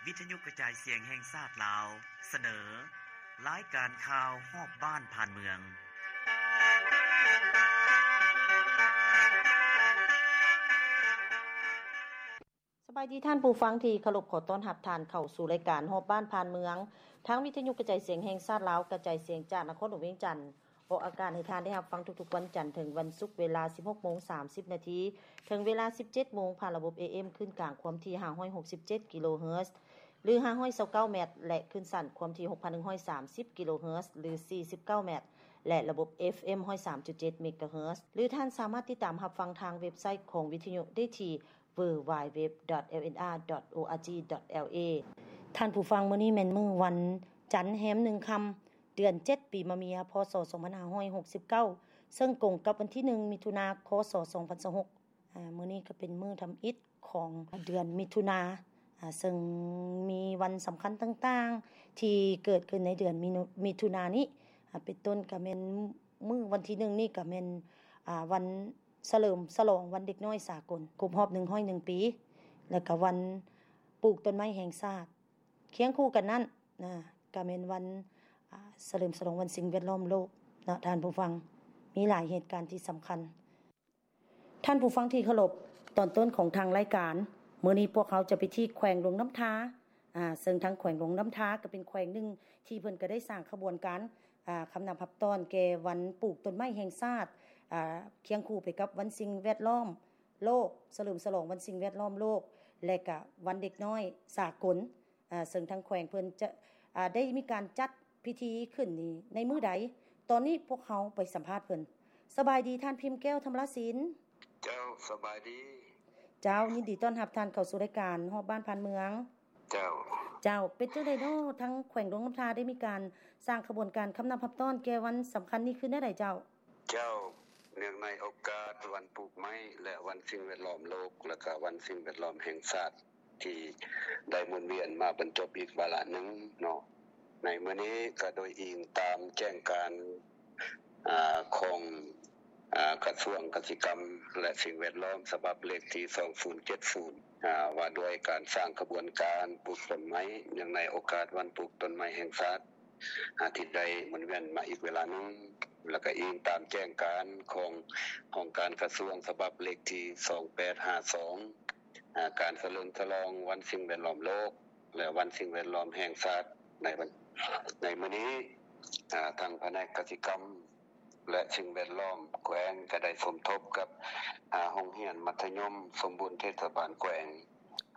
ວິທະຍຸກະຈາຍສຽງແຫ່ງຊາດລາວ ສະເໜີ ລາຍການຂ່າວຮອບບ້ານຜ່ານເມືອງ. ສະບາຍດີທ່ານຜູ້ຟັງທີ່ເຄົາລົບ, ຂໍຕ້ອນຮັບທ່ານເຂົ້າສູ່ລາຍການຮອບບ້ານຜ່ານເມືອງ ທາງວິທະຍຸກະຈາຍສຽງແຫ່ງຊາດລາວ ກະຈາຍສຽງຈາກນະຄອນຫຼວງວຽງຈັນ. ອອກອາກາດໃຫ້ທ່ານໄດ້ຮັບຟັງທຸກໆວັນຈັນເຖິງວັນສຸກ ເວລາສິບຫົກໂມງສາມສິບນາທີ ເຖິງເວລາສິບເຈັດໂມງ ຜ່ານລະບົບ ເອເອັມ ຄື້ນກາງຄວາມຖີ່ຫ້າຮ້ອຍຫົກສິບເຈັດກິໂລເຮີດ ຫຼື ຫ້າຮ້ອຍຊາວເກົ້າແມັດ ແລະ ຄື້ນສັ້ນຄວາມຖີ່ຫົກພັນໜຶ່ງຮ້ອຍສາມສິບກິໂລເຮີດ ຫຼື ສີ່ສິບເກົ້າແມັດ ແລະ ລະບົບ ເອຟເອັມ ຮ້ອຍສາມຈຸດເຈັດເມກາເຮີດ ຫຼື ທ່ານສາມາດຕິດຕາມຮັບຟັງທາງເວັບໄຊຂອງວິທະຍຸໄດ້ທີ່ ดัບເບິນຢູດັບເບິນຢູດັບເບິນຢູດັບເບິນຢູ ດອດ ເອລເອັນອາ ດອດ ໂອອາຈີ ດອດ ແອລເອ ທ່ານຜູ້ຟັງ, ມື້ນີ້ແມ່ນມື້ວັນຈັນແຮມໜຶ່ງຄ່ຳ ເດືອນເຈັດ ປີມະເມຍ ພ.ສ. ສອງພັນຫ້າຮ້ອຍຫົກສິບເກົ້າ ເຊິ່ງກົງກັບວັນທີໜຶ່ງ ມິຖຸນາ ຄ.ສ. ສອງພັນຊາວຫົກ. ອາ ມື້ນີ້ກໍເປັນມື້ທຳອິດຂອງເດືອນມິຖຸນາ ອາ ເຊິ່ງມີວັນສຳຄັນຕ່າງໆທີ່ເກີດຂຶ້ນໃນເດືອນມິຖຸນານີ້ ອາ ເປັນຕົ້ນກໍແມ່ນມື້ວັນທີໜຶ່ງນີ້ກໍແມ່ນ ອາ ວັນ ສະເຫຼີມສະຫຼອງວັນເດັກນ້ອຍສາກົນ ຄົບຮອບໜຶ່ງຮ້ອຍໜຶ່ງປີ ແລ້ວກະວັນປູກຕົ້ນໄມ້ແຫ່ງຊາດ. ຄຽງຄູ່ກັນນັ້ນນະ ກະແມ່ນວັນ ອາ ສະເຫຼີມສະຫຼອງວັນສິ່ງແວດລ້ອມໂລກເນາະທ່ານຜູ້ຟັງ. ມີຫຼາຍເຫດການທີ່ສຳຄັນ. ທ່ານຜູ້ຟັງທີ່ເຄົາລົບ, ຕອນຕົ້ນຂອງທາງລາຍການ ມື້ນີ້ພວກເຮົາຈະໄປທີ່ແຂວງຫຼວງນ້ຳທາ ອາ ເຊິ່ງທາງແຂວງຫຼວງນ້ຳທາກໍເປັນແຂວງໜຶ່ງທີ່ເພິ່ນກໍໄດ້ສ້າງຂະບວນການ ອາ ຄຳນັບຮັບຕ້ອນແກ່ວັນປູກຕົ້ນໄມ້ແຫ່ງຊາດ ອາ ຄຽງຄູ່ໄປກັບວັນສິ່ງແວດລ້ອມໂລກ, ສະເຫຼີມສະຫຼອງວັນສິ່ງແວດລ້ອມໂລກ ແລະ ກະວັນເດັກນ້ອຍສາກົນ ອາ ເຊິ່ງທາງແຂວງເພິ່ນຈະ ອາ ໄດ້ມີການຈັດພິທີຂຶ້ນນີ້ໃນມື້ໃດ? ຕອນນີ້ພວກເຮົາໄປສຳພາດເພິ່ນ. ສະບາຍດີທ່ານ ພິມແກ້ວ ທຳລະສິນ. ເຈົ້າ ສະບາຍດີ. ເຈົ້າ ຍິນດີຕ້ອນຮັບທ່ານເຂົ້າສູ່ລາຍການຮອບບ້ານຜ່ານເມືອງ. ເຈົ້າ ເຈົ້າ ເປັນຈັ່ງໃດເນາະ ທາງແຂວງຫຼວງນ້ຳທາໄດ້ມີການສ້າງຂະບວນການຄຳນັບຮັບຕ້ອນແກ່ວັນສຳຄັນນີ້ຄືແນວໃດເຈົ້າ? ເຈົ້າ ເນື່ອງໃນໂອກາດວັນປູກໄມ້ແລະວັນສິ່ງແວດລ້ອມໂລກ ແລະກະວັນສິ່ງແວດລ້ອມແຫ່ງຊາດ ທີ່ໄດ້ໝູນວຽນມາບັນຈົບອີກວາລະໜຶ່ງເນາະ ໃນມື້ນີ້ກະໂດຍອີງຕາມແຈ້ງການ ອາ ຂອງ ອາ ກະຊວງກະສິກຳ ແລະ ສິ່ງແວດລ້ອມ ສະບັບເລກທີສອງສູນເຈັດສູນ ອາ ວ່າດ້ວຍການສ້າງຂະບວນການປູກຕົ້ນໄມ້ ເນື່ອງໃນໂອກາດວັນປູກຕົ້ນໄມ້ແຫ່ງຊາດ ອາ ທີ່ໄດ້ໝູນວຽນມາອີກເວລາໜຶ່ງ ແລ້ວກະອີງຕາມແຈ້ງການຂອງຫ້ອງການກະຊວງ ສະບັບເລກທີສອງແປດຫ້າສອງ ອາ ການສະເຫຼີມສະຫຼອງວັນສິ່ງແວດລ້ອມໂລກ ແລະ ວັນສິ່ງແວດລ້ອມແຫ່ງຊາດ ໃນວັນ ໃນມື້ນີ້ ອາ ທາງພະແນກກະສິກຳ ແລະ ສິ່ງແວດລ້ອມແຂວງ ກະໄດ້ສົມທົບກັບ ອາ ໂຮງຮຽນມັດທະຍົມສົມບູນເທດສະບານແຂວງ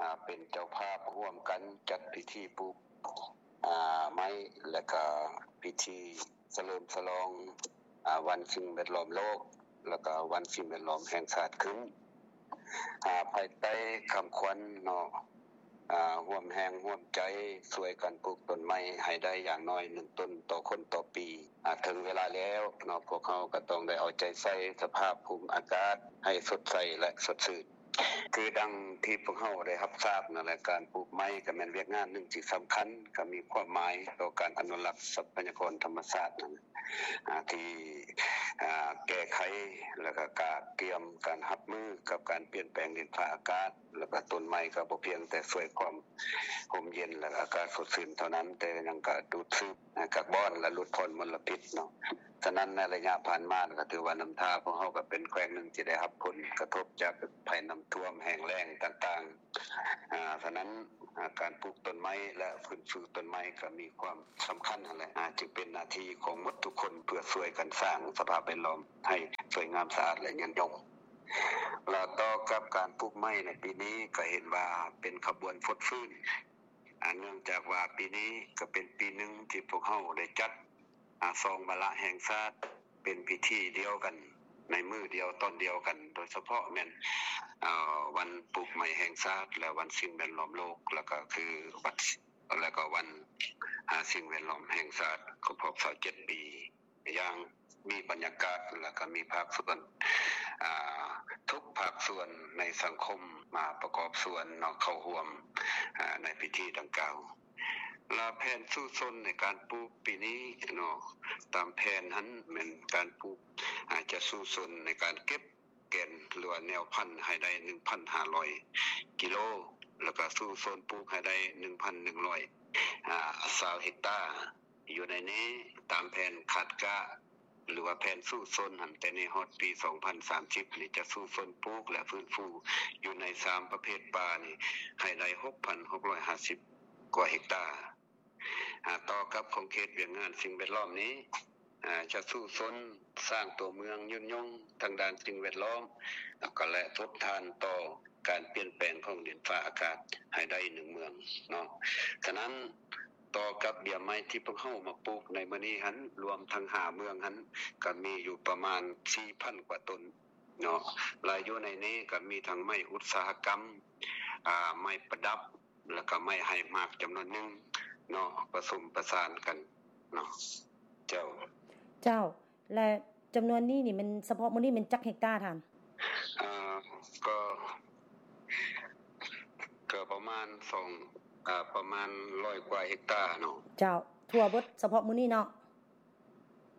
ອາ ເປັນເຈົ້າພາບຮ່ວມກັນຈັດພິທີປູກ ອາ ໄມ້ ແລະກະພິທີສະເຫຼີມສະຫຼອງ ອາ ວັນສິ່ງແວດລ້ອມໂລກ ແລະກະວັນສິ່ງແວດລ້ອມແຫ່ງຊາດຂຶ້ນ ອາ ພາຍໃຕ້ຄຳຂວັນເນາະ ອາ ຮ່ວມແຮງຮ່ວມໃຈຊ່ວຍກັນປູກຕົ້ນໄມ້ໃຫ້ໄດ້ຢ່າງໜ້ອຍໜຶ່ງຕົ້ນຕໍ່ຄົນຕໍ່ປີ ອາ ເຖິງເວລາແລ້ວເນາະ ພວກເຮົາກະຕ້ອງໄດ້ເອົາໃຈໃສ່ສະພາບພູມອາກາດໃຫ້ສົດໃສ ແລະ ສົດຊື່ນ. ຄືດັ່ງທີ່ພວກເຮົາໄດ້ຮັບຊາບນັ້ນແຫຼະ ການປູກໄມ້ກະແມ່ນວຽກງານໜຶ່ງທີ່ສຳຄັນ ກະມີຄວາມໝາຍຕໍ່ການອະນຸລັກຊັບພະຍາກອນທຳມະຊາດນັ້ນ ອາ ທີ່ ອາ ແກ້ໄຂ ແລະກະກະກຽມການຮັບມືກັບການປ່ຽນແປງດິນຟ້າອາກາດ ແລະກະຕົ້ນໄມ້ກະບໍ່ພຽງແຕ່ຊ່ວຍຄວາມຮົ່ມເຢັນ ແລະອາກາດສົດຊື່ນເທົ່ານັ້ນ ແຕ່ຍັງກະດູດຊືບ ອາ ກາບອນ ແລະ ຫຼຸດຜ່ອນມົນລະພິດເນາະ. ສະນັ້ນໃນໄລຍະຜ່ານມາກະຖືວ່ານ້ຳທາພວກເຮົາກະເປັນແຂວງໜຶ່ງທີ່ໄດ້ຮັບຜົນກະທົບຈາກໄພນ້ຳຖ້ວມແຫ້ງແລ້ງຕ່າງໆ ອາ ສະນັ້ນ ອາ ການປູກຕົ້ນໄມ້ ແລະ ຟື້ນຟູຕົ້ນໄມ້ກະມີຄວາມສຳຄັນຫັ້ນແຫຼະ ອາ ຈຶ່ງເປັນໜ້າທີ່ຂອງໝົດທຸກຄົນເພື່ອຊ່ວຍກັນສ້າງສະພາບແວດລ້ອມໃຫ້ສວຍງາມສະອາດ ແລະ ຍືນຍົງ. ແລະ ຕໍ່ກັບການປູກໄມ້ໃນປີນີ້ກະເຫັນວ່າເປັນຂະບວນຟົດຟື້ນ ອາ ເນື່ອງຈາກວ່າປີນີ້ກະເປັນປີໜຶ່ງທີ່ພວກເຮົາໄດ້ຈັດ ອາ ສອງວາລະແຫ່ງຊາດ ເປັນພິທີດຽວກັນ ໃນມື້ດຽວຕອນດຽວກັນ ໂດຍສະເພາະແມ່ນ ອາ ວັນປູກໄມ້ແຫ່ງຊາດ ແລະ ວັນສິ່ງແວດລ້ອມໂລກ ແລະກະຄືວັນ ແລະກະວັນ ອາ ສິ່ງແວດລ້ອມແຫ່ງຊາດ ຄົບຮອບຊາວເຈັດປີ ຢ່າງມີບັນຍາກາດ ແລະກະມີພາກສ່ວນ ອາ ທຸກພາກສ່ວນໃນສັງຄົມມາປະກອບສ່ວນເນາະ ເຂົ້າຮ່ວມ ອາ ໃນພິທີດັ່ງກ່າວ. ລະແຜນສູ້ຊົນໃນການປູກປີນີ້ເນາະ ຕາມແຜນຫັ້ນແມ່ນການປູກ ອາ ຈະສູ້ຊົນໃນການເກັບແກ່ນ ຫຼືວ່າແນວພັນໃຫ້ໄດ້ໜຶ່ງພັນຫ້າຮ້ອຍກິໂລ ແລ້ວກໍສູ້ຊົນປູກໃຫ້ໄດ້ໜຶ່ງພັນໜຶ່ງຮ້ອຍຊາວເຮັກຕາ. ຢູ່ໃນນີ້ຕາມແຜນຄາດກະ ຫຼືວ່າແຜນສູ້ຊົນຫັ້ນ ແຕ່ນີ້ຮອດປີສອງພັນສາມສິບນີ້ ຈະສູ້ຊົນປູກ ແລະ ຟື້ນຟູຢູ່ໃນສາມປະເພດປ່ານີ້ ໃຫ້ໄດ້ຫົກພັນຫົກຮ້ອຍຫ້າສິບກວ່າເຮັກຕາ. ອາ ຕໍ່ກັບຂອງເຂດວຽກງານສິ່ງແວດລ້ອມນີ້ ອາ ຈະສູ້ຊົນສ້າງຕົວເມືອງຍືນຍົງທາງດ້ານສິ່ງແວດລ້ອມ ແລ້ວກໍ ແລະ ທົນທານຕໍ່ການປ່ຽນແປງຂອງດິນຟ້າອາກາດໃຫ້ໄດ້ໜຶ່ງເມືອງເນາະ. ສະນັ້ນ ຕໍ່ກັບເບ້ຍໄມ້ທີ່ພວກເຮົາມາປູກໃນມື້ນີ້ຫັ້ນ ລວມທັງຫ້າເມືອງຫັ້ນ ກໍມີຢູ່ປະມານສີ່ພັນກວ່າຕົ້ນເນາະ ແລະ ຢູ່ໃນນີ້ກໍມີທັງໄມ້ອຸດສາຫະກຳ ອາ ໄມ້ປະດັບ ແລ້ວກໍໄມ້ໃຫ້ໝາກຈຳນວນໜຶ່ງເນາະ ປະສົມປະສານກັນເນາະ. ເຈົ້າ ເຈົ້າ ແລະ ຈຳນວນນີ້ນີ້ແມ່ນ ສະເພາະມື້ນີ້ແມ່ນຈັກເຮັກຕາທ່ານ? ເອີ ກໍ ກໍປະມານສອງ ເອີ ປະມານຮ້ອຍກວ່າເຮັກຕາເນາະ. ເຈົ້າ ທົ່ວເບິດສະເພາະມື້ນີ້ເນາະ.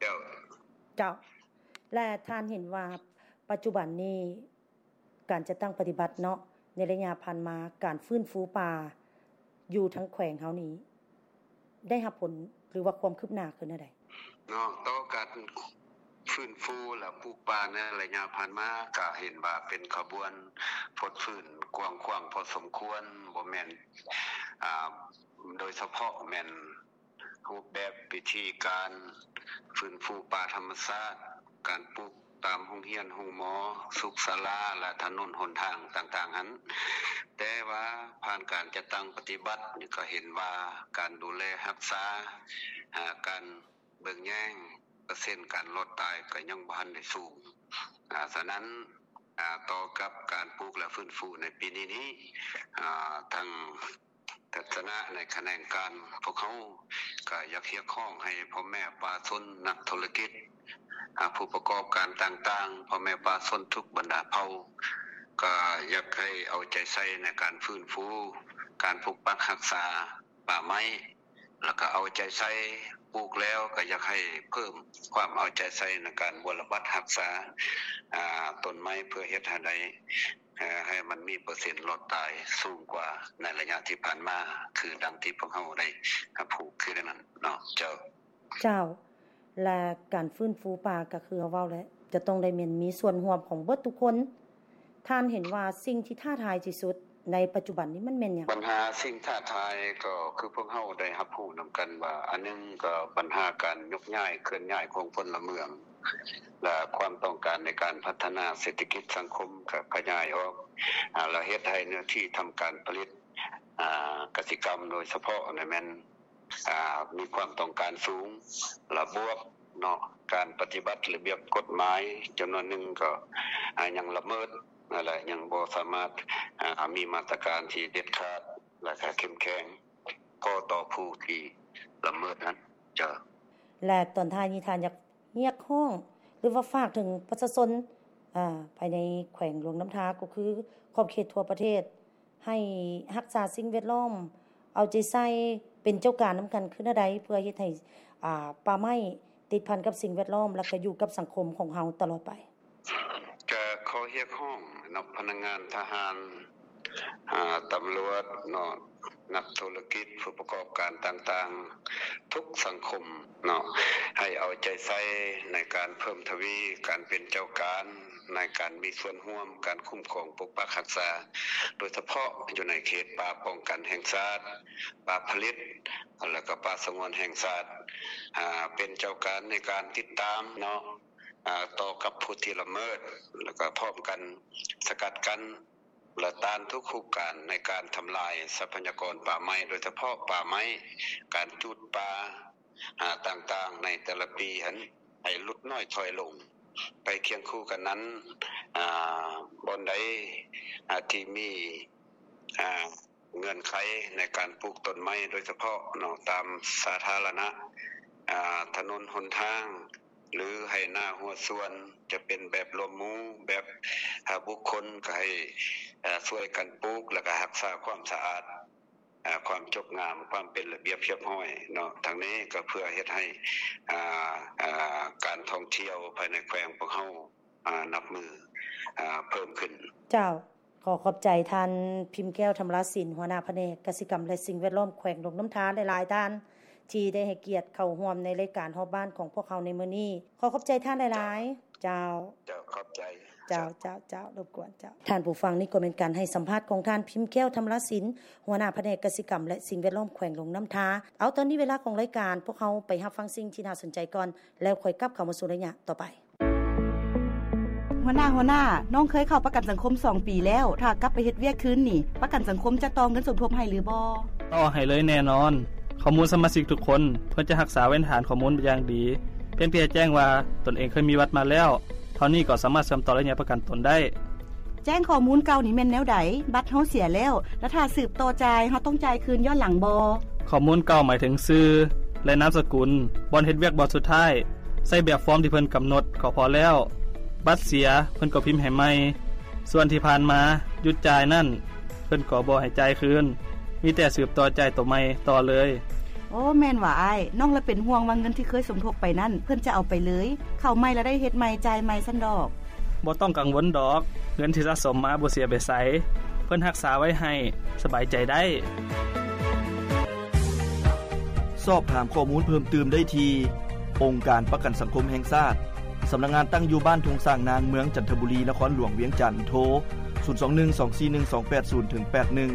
ເຈົ້າ ເຈົ້າ ແລະ ທ່ານເຫັນວ່າປັດຈຸບັນນີ້ ການຈັດຕັ້ງປະຕິບັດເນາະ ໃນໄລຍະຜ່ານມາ ການຟື້ນຟູປ່າຢູ່ທາງແຂວງເຮົານີ້ ໄດ້ຮັບຜົນ ຫຼືວ່າຄວາມຄືບໜ້າຄືແນວໃດ? ເນາະ ຕໍ່ການຟື້ນຟູ ແລະ ປູກປ່າໃນໄລຍະຜ່ານມາ ກະເຫັນວ່າເປັນຂະບວນຟົດຟື້ນກວ້າງຂວາງພໍສົມຄວນ, ບໍ່ແມ່ນ ອາ ໂດຍສະເພາະແມ່ນ ຮູບແບບວິທີການຟື້ນຟູປ່າທຳມະຊາດ, ການປູກຕາມໂຮງຮຽນ, ໂຮງໝໍ, ສຸກສາລາ ແລະ ຖະໜົນຫົນທາງຕ່າງໆຫັ້ນ. ແຕ່ວ່າຜ່ານການຈັດຕັ້ງປະຕິບັດນີ້ ກໍເຫັນວ່າການດູແລຮັກສາ, ອາ ການເບິ່ງແຍງ ເປີເຊັນການລອດຕາຍກໍຍັງບໍ່ທັນໄດ້ສູງ. ອາ ສະນັ້ນ ອາ ຕໍ່ກັບການປູກ ແລະ ຟື້ນຟູໃນປີນີ້ນີ້ ອາ ທາງ ທັດສະນະໃນຂະແໜງການພວກເຮົາ ກໍຢາກຮຽກຮ້ອງໃຫ້ພໍ່ແມ່ປະຊາຊົນ, ນັກທຸລະກິດ, ອາ ຜູ້ປະກອບການຕ່າງໆ, ພໍ່ແມ່ປະຊາຊົນທຸກບັນດາເຜົ່າ ກໍຢາກໃຫ້ເອົາໃຈໃສ່ໃນການຟື້ນຟູ, ການປົກປັກຮັກສາປ່າໄມ້ ແລ້ວກໍເອົາໃຈໃສ່ປູກແລ້ວ ກໍຢາກໃຫ້ເພີ່ມຄວາມເອົາໃຈໃສ່ໃນການບົວລະບັດຮັກສາ ອາ ຕົ້ນໄມ້ ເພື່ອເຮັດໃຫ້ໄດ້ ເອີ ໃຫ້ມັນມີເປີເຊັນລອດຕາຍສູງກວ່າໃນໄລຍະທີ່ຜ່ານມາ ຄືດັ່ງທີ່ພວກເຮົາໄດ້ຮັບຮູ້ຄືນັ້ນເນາະ. ເຈົ້າ ເຈົ້າ ແລະ ການຟື້ນຟູປ່າກໍຄືເຮົາເວົ້າແຫຼະ ຈະຕ້ອງໄດ້ແມ່ນມີສ່ວນຮ່ວມຂອງເບິດທຸກຄົນ. ທ່ານເຫັນວ່າສິ່ງທີ່ທ້າທາຍທີ່ສຸດໃນປັດຈຸບັນນີ້ມັນແມ່ນຫຍັງ? ບັນຫາສິ່ງທ້າທາຍກໍຄືພວກເຮົາໄດ້ຮັບຮູ້ນຳກັນວ່າ ອັນໜຶ່ງກໍບັນຫາການຍົກຍ້າຍເຄື່ອນຍ້າຍຂອງພົນລະເມືອງ ແລະ ຄວາມຕ້ອງການໃນການພັດທະນາເສດຖະກິດສັງຄົມກໍຂະຫຍາຍອອກ ອາ ແລະ ເຮັດໃຫ້ເນື້ອທີ່ທຳການຜະລິດ ອາ ກະສິກຳໂດຍສະເພາະນີ້ແມ່ນ ອາ ມີຄວາມຕ້ອງການສູງ ລະບວກເນາະ ການປະຕິບັດລະບຽບກົດໝາຍຈຳນວນໜຶ່ງກໍ ອາ ຍັງລະເມີດ ແລະ ຍັງບໍ່ສາມາດ ອາ ມີມາດຕະການທີ່ເດັດຂາດ ແລະ ກະເຂັ້ມແຂງ ກໍຕໍ່ຜູ້ທີ່ລະເມີດນັ້ນ. ເຈົ້າ ແລະ ຕອນທ້າຍນີ້ທ່ານຢາກຮຽກຮ້ອງ ຫຼືວ່າຝາກເຖິງປະຊາຊົນ ອາ ພາຍໃນແຂວງຫຼວງນ້ຳທາ ກໍຄືຂອບເຂດທົ່ວປະເທດ ໃຫ້ຮັກສາສິ່ງແວດລ້ອມ, ເອົາໃຈໃສ່, ເປັນເຈົ້າການນຳກັນຄືແນວໃດ ເພື່ອເຮັດໃຫ້ ອາ ປ່າໄມ້ຕິດພັນກັບສິ່ງແວດລ້ອມ ແລ້ວກໍຢູ່ກັບສັງຄົມຂອງເຮົາຕະຫຼອດໄປ? ກະຂໍຮຽກຮ້ອງເນາະ ພະນັກງານທະຫານ, ອາ, ຕຳຫຼວດເນາະ, ນັກທຸລະກິດ, ຜູ້ປະກອບການຕ່າງໆ ທຸກສັງຄົມເນາະ ໃຫ້ເອົາໃຈໃສ່ໃນການເພີ່ມທະວີການເປັນເຈົ້າການ ໃນການມີສ່ວນຮ່ວມການຄຸ້ມຄອງປົກປັກຮັກສາ ໂດຍສະເພາະຢູ່ໃນເຂດປ່າປ້ອງກັນແຫ່ງຊາດ, ປ່າຜະລິດ ແລ້ວກໍປ່າສະຫງວນແຫ່ງຊາດ, ອາ, ເປັນເຈົ້າການໃນການຕິດຕາມເນາະ ອາ, ຕໍ່ກັບຜູ້ທີ່ລະເມີດ ແລ້ວກໍພ້ອມກັນສະກັດກັ້ນ ແລະ ຕ້ານທຸກຮູບການໃນການທຳລາຍຊັບພະຍາກອນປ່າໄມ້ ໂດຍສະເພາະປ່າໄມ້, ການຈູດປ່າ ອາ, ຕ່າງໆໃນແຕ່ລະປີຫັ້ນ ໃຫ້ຫຼຸດນ້ອຍຖອຍລົງ. ໄປຄຽງຄູ່ກັນນັ້ນ, ອາ, ບ່ອນໃດ, ອາ, ທີ່ມີ, ອາ, ເງື່ອນໄຂໃນການປູກຕົ້ນໄມ້ ໂດຍສະເພາະເນາະ ຕາມສາທາລະນະ, ອາ, ຖະໜົນຫົນທາງ ຫຼື ໄຮ່ນາຮົ້ວສວນ ຈະເປັນແບບລວມໝູ່ ແບບ, ອາ, ບຸກຄົນ ກໍໃຫ້, ອາ, ຊ່ວຍກັນປູກ ແລ້ວກໍຮັກສາຄວາມສະອາດ, ອາ, ຄວາມຈົບງາມ, ຄວາມເປັນລະບຽບຮຽບຮ້ອຍເນາະ. ທັງນີ້ກໍເພື່ອເຮັດໃຫ້, ອາ, ອາ, ການທ່ອງທ່ຽວພາຍໃນແຂວງພວກເຮົາ, ອາ, ນັບມື້, ອາ, ເພີ່ມຂຶ້ນ. ເຈົ້າ. ຂໍຂອບໃຈທ່ານ ພິມແກ້ວ ທຳລາສິນ ຫົວໜ້າພະແນກກະສິກຳ ແລະ ສິ່ງແວດລ້ອມ ແຂວງຫຼວງນ້ຳທາ ຫຼາຍໆ ທ່ານ ທີ່ໄດ້ໃຫ້ກຽດເຂົ້າຮ່ວມໃນລາຍການຮອບບ້ານຂອງພວກເຮົາໃນມື້ນີ້. ຂໍຂອບໃຈທ່ານຫຼາຍໆ. ເຈົ້າ. ເຈົ້າ ຂອບໃຈ. ເຈົ້າ ເຈົ້າ ເຈົ້າ ລົບກວນເຈົ້າ. ທ່ານຜູ້ຟັງ, ນີ້ກໍແມ່ນການໃຫ້ສຳພາດຂອງທ່ານ ພິມແກ້ວ ທຳລາສິນ ຫົວໜ້າພະແນກກະສິກຳ ແລະ ສິ່ງແວດລ້ອມ ແຂວງຫຼວງນ້ຳທາ. ເອົາ, ຕອນນີ້ເວລາຂອງລາຍການ, ພວກເຮົາໄປຮັບຟັງສິ່ງທີ່ໜ້າສົນໃຈກ່ອນ ແລ້ວຄ່ອຍກັບເຂົ້າມາສູ່ໄລຍະຕໍ່ໄປ. ຫົວໜ້າ, ຫົວໜ້າ, ນ້ອງເຄີຍເຂົ້າປະກັນສັງຄົມສອງປີແລ້ວ, ຖ້າກັບໄປເຮັດວຽກຄືນນີ້, ປະກັນສັງຄົມຈະຕໍ່ເງິນສົມທົບໃຫ້ຫຼືບໍ່? ຕໍ່ໃຫ້ເລີຍແນ່ນອນ. ຂໍ້ມູນສະມາຊິກທຸກຄົນ ເພິ່ນຈະຮັກສາໄວ້ໃນຖານຂໍ້ມູນຢ່າງດີ, ພຽງແຕ່ແຈ້ງວ່າຕົນເອງເຄີຍມີບັດມາແລ້ວ, ເທົ່ານີ້ກໍສາມາດເຊື່ອມຕໍ່ໄລຍະປະກັນຕົນໄດ້. ແຈ້ງຂໍ້ມູນເກົ່ານີ້ແມ່ນແນວໃດ? ບັດເຮົາເສຍແລ້ວ, ແລະ ຖ້າສືບຕໍ່ຈ່າຍ, ເຮົາຕ້ອງຈ່າຍຄືນຍ້ອນຫຼັງບໍ່? ຂໍ້ມູນເກົ່າໝາຍເຖິງຊື່ ແລະ ນາມສະກຸນ, ບ່ອນເຮັດວຽກບ່ອນສຸດທ້າຍ, ໃຊ້ແບບຟອມທີ່ເພິ່ນກຳນົດກໍພໍແລ້ວ. ບັດເສຍ, ເພິ່ນກໍພິມໃຫ້ໃໝ່. ສ່ວນທີ່ຜ່ານມາຢຸດຈ່າຍນັ້ນ, ເພິ່ນກໍບໍ່ໃຫ້ຈ່າຍຄືນ, ມີແຕ່ສືບຕໍ່ຈ່າຍໂຕໃໝ່ຕໍ່ເລີຍ. ໂອ້, ແມ່ນຫວາອ້າຍ. ນ້ອງລະເປັນຫ່ວງວ່າເງິນທີ່ເຄີຍສົມທົບໄປນັ້ນ, ເພິ່ນຈະເອົາໄປເລີຍ, ເຂົ້າໃໝ່ລະໄດ້ເຮັດໃໝ່, ຈ່າຍໃໝ່ຊັ້ນດອກ. ບໍ່ຕ້ອງກັງວົນດອກ, ເງິນທີ່ສະສົມມາບໍ່ເສຍໄປໃສ, ເພິ່ນຮັກສາໄວ້ໃຫ້, ສະບາຍໃຈໄດ້. ສອບຖາມຂໍ້ມູນເພີ່ມຕື່ມໄດ້ທີ່ ອົງການປະກັນສັງຄົມແຫ່ງຊາດ, ສຳນັກງານຕັ້ງຢູ່ບ້ານທົ່ງຊ້າງນາງ, ເມືອງຈັນທະບູລີ, ນະຄອນຫຼວງວຽງຈັນ, ໂທ ສູນສອງໜຶ່ງ ສອງສີ່ໜຶ່ງ ສອງແປດສູນ ເຖິງ ແປດໜຶ່ງ,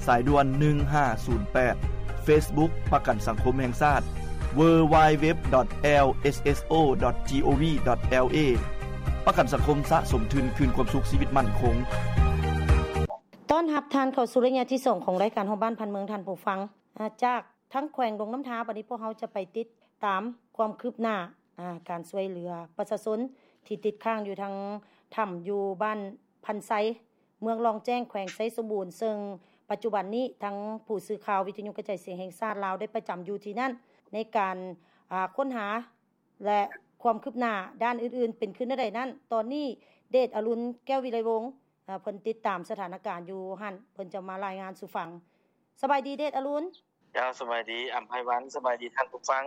ສາຍດ່ວນ ໜຶ່ງຫ້າສູນແປດ, Facebook ປະກັນສັງຄົມແຫ່ງຊາດ www.lsso.gov.lw ປະກັນສັງຄົມສະສົມທຶນຄືນຄວາມສຸກຊີວິດໝັ້ນຄົງ. ຕ້ອນຮັບທ່ານເຂົ້າສູ່ໄລຍະທີສອງຂອງລາຍການຮອບບ້ານຜ່ານເມືອງ, ທ່ານຜູ້ຟັງ. ອາ ຈາກທາງແຂວງຫຼວງນ້ຳທາ, ບັດນີ້ພວກເຮົາຈະໄປຕິດຕາມຄວາມຄືບໜ້າ ອາ ການຊ່ວຍເຫຼືອປະຊາຊົນທີ່ຕິດຄ້າງຢູ່ທາງຖ້ຳ ຢູ່ບ້ານພັນໄຊ ເມືອງລ່ອງແຈ້ງ ແຂວງໄຊສົມບູນ, ເຊິ່ງປັດຈຸບັນນີ້ທາງຜູ້ສື່ຂ່າວວິທະຍຸກະຈາຍສຽງແຫ່ງຊາດລາວໄດ້ປະຈຳຢູ່ທີ່ນັ້ນ ໃນການ ອາ ຄົ້ນຫາ ແລະ ຄວາມຄືບໜ້າດ້ານອື່ນໆເປັນຄືແນວໃດນັ້ນ, ຕອນນີ້ເດດອະລຸນ ແກ້ວວິໄລວົງ ເພິ່ນຕິດຕາມສະຖານະການຢູ່ຫັ້ນ, ເພິ່ນຈະມາລາຍງານສູ່ຟັງ. ສະບາຍດີ ເດດອະລຸນ. ເຈົ້າ ສະບາຍດີ ອຳໄພວັນ, ສະບາຍດີທ່ານຜູ້ຟັງ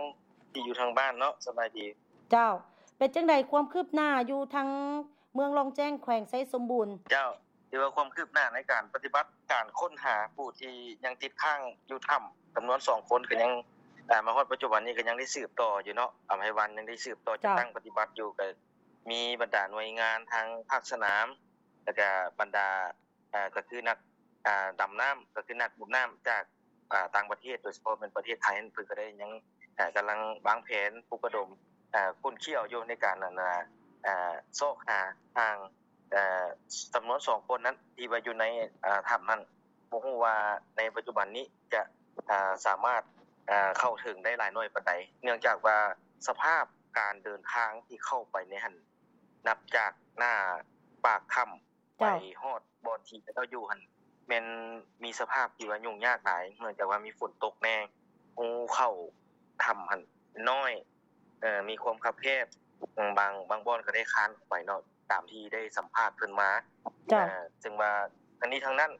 ທີ່ຢູ່ທາງບ້ານເນາະ, ສະບາຍດີ. ເຈົ້າ ເປັນຈັ່ງໃດຄວາມຄືບໜ້າຢູ່ທາງເມືອງລ່ອງແຈ້ງ ແຂວງໄຊສົມບູນ? ເຈົ້າ ຖືວ່າຄວາມຄືບໜ້າໃນການປະຕິບັດການຄົ້ນຫາຜູ້ທີ່ຍັງຕິດຄ້າງຢູ່ຖ້ຳຈຳນວນສອງຄົນ ກໍຍັງ ເອີ ມາຮອດປັດຈຸບັນນີ້ກໍຍັງໄດ້ສືບຕໍ່ຢູ່ເນາະ, ອຳໄພວັນຍັງໄດ້ສືບຕໍ່ ເຈົ້າ ຈັດຕັ້ງປະຕິບັດຢູ່, ກໍມີບັນດາໜ່ວຍງານທາງພາກສະໜາມ ແລ້ວກະບັນດາ ເອີ ກໍຄືນັກ ອາ ດຳນ້ຳ ກໍຄືນັກດົບນ້ຳຈາກ ອາ ຕ່າງປະເທດ, ໂດຍສະເພາະແມ່ນປະເທດໄທນັ້ນ ເພິ່ນກໍໄດ້ຍັງ ອາ ກຳລັງວາງແຜນປຸກລະດົມ ອາ ຄົ້ນຄ້ວາຢູ່ໃນການ ອັນ ອາ ຊອກຫາທາງ ເອີ ຈຳນວນສອງຄົນນັ້ນ ທີ່ວ່າຢູ່ໃນ ອາ ຖ້ຳນັ້ນ. ບໍ່ຮູ້ວ່າໃນປັດຈຸບັນນີ້ຈະ ອາ ສາມາດ ອາ ເຂົ້າເຖິງໄດ້ຫຼາຍໜ້ອຍປານໃດ, ເນື່ອງຈາກວ່າສະພາບການເດີນທາງທີ່ເຂົ້າໄປໃນຫັ້ນ ນັບຈາກໜ້າປາກຖ້ຳ ເຈົ້າ ໄປຮອດບ່ອນທີ່ເຂົາເຈົ້າຢູ່ຫັ້ນ ແມ່ນມີສະພາບທີ່ວ່າຫຍຸ້ງຍາກຫຼາຍ, ເນື່ອງຈາກວ່າມີຝົນຕົກແດ່, ຮູເຂົ້າຖ້ຳຫັ້ນນ້ອຍ, ເອີ ມີຄວາມຄັບແຄບ, ບາງ ບາງບ່ອນກໍໄດ້ຄານອອກໄປເນາະ, ຕາມທີ່ໄດ້ສຳພາດເພິ່ນມາ. ເຈົ້າ. ເອີ ເຊິ່ງວ່າທັງນີ້ທັງນັ້ນ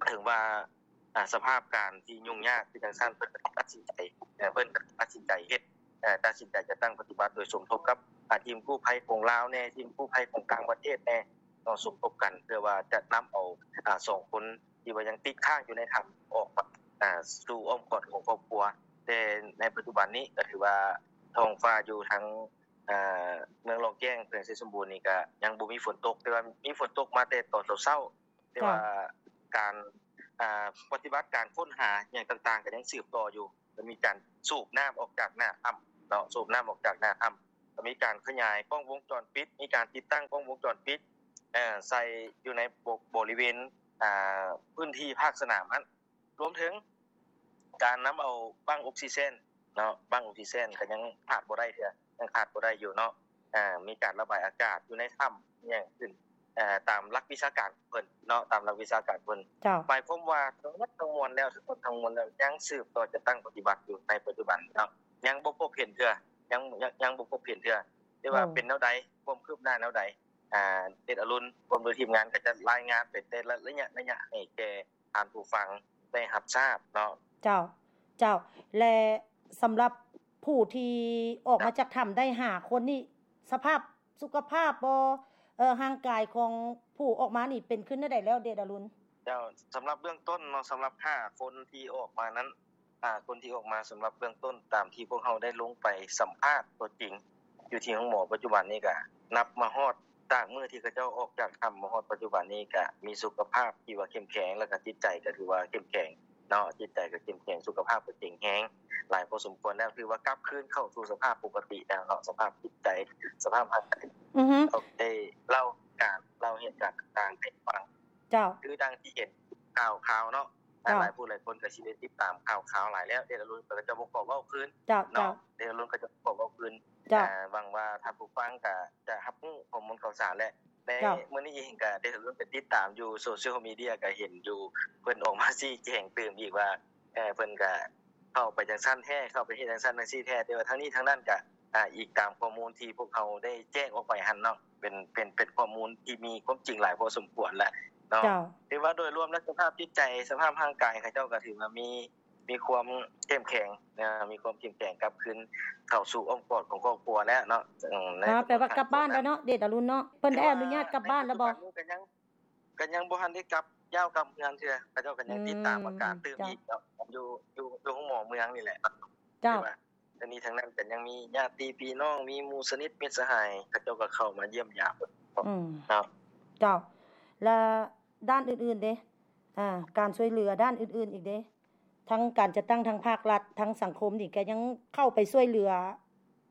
ເຖິງວ່າ ອາ ສະພາບການທີ່ຫຍຸ້ງຍາກຄືຈັ່ງຊັ້ນ, ເພິ່ນກໍຕັດສິນໃຈ ເອີ ເພິ່ນກໍຕັດສິນໃຈເຮັດ ເອີ ຕັດສິນໃຈຈັດຕັ້ງປະຕິບັດໂດຍສົມທົບກັບ ອາ ທີມກູ້ໄພຂອງລາວແດ່, ທີມກູ້ໄພຂອງຕ່າງປະເທດແດ່ເນາະ, ສົມທົບກັນເພື່ອວ່າຈະນຳເອົາ ອາ ສອງຄົນທີ່ວ່າຍັງຕິດຄ້າງຢູ່ໃນຖ້ຳອອກມາ ອາ ສູ່ອ້ອມກອດຂອງຄອບຄົວ. ແຕ່ໃນປັດຈຸບັນນີ້ກໍຖືວ່າທ້ອງຟ້າຢູ່ທາງ ອາ ເມືອງລ່ອງແຈ້ງ ແຂວງໄຊສົມບູນນີ້ກໍຍັງບໍ່ມີຝົນຕົກ, ແຕ່ວ່າມີຝົນຕົກມາແຕ່ຕອນເຊົ້າໆ. ແຕ່ວ່າ ເຈົ້າ ການ ອາ ປະຕິບັດການຄົ້ນຫາຫຍັງຕ່າງໆ ກໍຍັງສືບຕໍ່ຢູ່, ກໍມີການສູບນ້ຳອອກຈາກໜ້າຖ້ຳເນາະ, ສູບນ້ຳອອກຈາກໜ້າຖ້ຳ, ກໍມີການຂະຫຍາຍກ້ອງວົງຈອນປິດ, ມີການຕິດຕັ້ງກ້ອງວົງຈອນປິດ ເອີ ໃສ່ຢູ່ໃນ ບໍ ບໍລິເວນ ອາ ພື້ນທີ່ພາກສະໜາມຫັ້ນ. ລວມເຖິງການນຳເອົາບັ້ງອົກຊີເຈນເນາະ, ບັ້ງອົກຊີເຈນກໍຍັງຂາດບໍ່ໄດ້ເທື່ອ, ຍັງຂາດບໍ່ໄດ້ຢູ່ເນາະ. ອາ ມີການລະບາຍອາກາດຢູ່ໃນຖ້ຳຫຍັງຂຶ້ນ ເອີ ຕາມຫຼັກວິຊາການຂອງເພິ່ນເນາະ, ຕາມຫຼັກວິຊາການເພິ່ນ. ເຈົ້າ. ໝາຍຄວາມວ່າທັງໝົດທັງມວນແລ້ວ, ທັງໝົດທັງມວນແລ້ວ ຍັງສືບຕໍ່ຈັດຕັ້ງປະຕິບັດຢູ່ໃນປັດຈຸບັນເນາະ, ຍັງບໍ່ພົບເຫັນເທື່ອ, ຍັງ ຍັງ ຍັງບໍ່ພົບເຫັນເທື່ອ. ແຕ່ວ່າ ໂອ້ ເປັນແນວໃດ, ຄວາມຄືບໜ້າແນວໃດ, ອາ ເດດອະລຸນ ພ້ອມດ້ວຍທີມງານ ກໍຈະລາຍງານໄປແຕ່ລະໄລຍະ ໄລຍະ ໃຫ້ແກ່ທ່ານຜູ້ຟັງໄດ້ຮັບຊາບເນາະ. ເຈົ້າ, ເຈົ້າ. ແລະ ສຳລັບຜູ້ທີ່ອອກມາຈາກຖ້ຳໄດ້ຫ້າຄົນນີ້ ສະພາບສຸຂະພາບບໍ່ ເອີ ຮ່າງກາຍຂອງຜູ້ອອກມານີ້ເປັນຂຶ້ນແນວໃດແລ້ວ ເດດອະລຸນ? ເຈົ້າ, ສຳລັບເບື້ອງຕົ້ນເນາະ, ສຳລັບຫ້າຄົນທີ່ອອກມານັ້ນ, ຫ້າຄົນທີ່ອອກມາ ສຳລັບເບື້ອງຕົ້ນຕາມທີ່ພວກເຮົາໄດ້ລົງໄປສຳພາດຕົວຈິງຢູ່ທີ່ໂຮງໝໍປັດຈຸບັນນີ້ ກະນັບມາຮອດ ຈາກມື້ທີ່ເຂົາເຈົ້າອອກຈາກຖ້ຳມາຮອດປັດຈຸບັນນີ້ ກະມີສຸຂະພາບທີ່ວ່າເຂັ້ມແຂງ ແລ້ວກະຈິດໃຈກະຖືວ່າເຂັ້ມແຂງເນາະ, ຈິດໃຈກະເຂັ້ມແຂງ, ສຸຂະພາບກະເຄັ່ງແຮງຫຼາຍພໍສົມຄວນແລ້ວ, ຖືວ່າກັບຄືນເຂົ້າສູ່ສະພາບປົກກະຕິແລ້ວເນາະ, ສະພາບຈິດໃຈ, ສະພາບຮ່າງກາຍ. ອືຮຶ ເຂົາໄດ້ເລົ່າການ ເລົ່າເຫດການຕ່າງໆໃຫ້ຟັງ. ເຈົ້າ. ຄືດັ່ງທີ່ເຫັນຂ່າວຄາວເນາະ, ເຈົ້າ. ຫຼາຍຜູ້ຫຼາຍຄົນກໍຊິໄດ້ຕິດຕາມຂ່າວຄາວຫຼາຍແລ້ວ, ເດດອະລຸນກໍຈະບໍ່ຂໍເວົ້າຄືນ ເຈົ້າ ເນາະ, ເຈົ້າ. ເດດອະລຸນກໍຈະບໍ່ຂໍເວົ້າຄືນ. ເຈົ້າ. ອາ ຫວັງວ່າທ່ານຜູ້ຟັງກໍຈະຮັບຮູ້ຂໍ້ມູນຂ່າວສານແຫຼະ. ໃນ ເຈົ້າ. ມື້ນີ້ເອງກໍໄດ້ເຂົ້າໄປຕິດຕາມຢູ່ໂຊຊຽວມີເດຍ ກໍເຫັນຢູ່ ເພິ່ນອອກມາຊີ້ແຈງຕື່ມອີກວ່າ ເອີ ເພິ່ນກໍເຂົ້າໄປຈັ່ງຊັ້ນແທ້, ເຂົ້າໄປເຮັດຈັ່ງຊັ້ນຈັ່ງຊີ້ແທ້, ແຕ່ວ່າທັງນີ້ທັງນັ້ນກໍ ອາ ອີງຕາມຂໍ້ມູນທີ່ພວກເຮົາໄດ້ແຈ້ງອອກໄປຫັ້ນເນາະ, ເປັນ ເປັນ ເປັນຂໍ້ມູນທີ່ມີຄວາມຈິງຫຼາຍພໍສົມຄວນແຫຼະເນາະ. ເຈົ້າ. ຖືວ່າໂດຍລວມແລ້ວ ສະພາບຈິດໃຈ ສະພາບຮ່າງກາຍເຂົາເຈົ້າກໍຖືວ່າມີ ມີຄວາມເຂັ້ມແຂງນະ, ມີຄວາມເຂັ້ມແຂງກັບຄືນເຂົ້າສູ່ອ້ອມກອດຂອງຄອບຄົວແລ້ວເນາະ. ອືມ ແປວ່າກັບບ້ານແລ້ວເນາະ ເດດອະລຸນເນາະ, ເພິ່ນໄດ້ອະນຸຍາດກັບບ້ານແລ້ວບໍ່? ກໍຍັງ ກໍຍັງບໍ່ທັນໄດ້ກັບ ຍ້າວກັບເຮືອນເທື່ອ, ເຂົາເຈົ້າກໍຍັງ ອືມ ຕິດຕາມອາການຕື່ມ ເຈົ້າ ອີກເນາະ, ຢູ່ ຢູ່ ຢູ່ໂຮງໝໍເມືອງນີ້ແຫຼະ. ເຈົ້າ. ແຕ່ວ່າທັງນີ້ທັງນັ້ນກໍຍັງມີຍາດຕິພີ່ນ້ອງ ມີໝູ່ສະໜິດມິດສະຫາຍ ເຂົາເຈົ້າກໍເຂົ້າມາຢ້ຽມຢາມ. ອືມ ເນາະ. ເຈົ້າ. ແລະດ້ານອື່ນໆເດ? ອາ ການຊ່ວຍເຫຼືອດ້ານອື່ນໆອີກເດ? ທັງການຈັດຕັ້ງ ທັງພາກລັດ ທັງສັງຄົມນີ້ກໍຍັງເຂົ້າໄປຊ່ວຍເຫຼືອ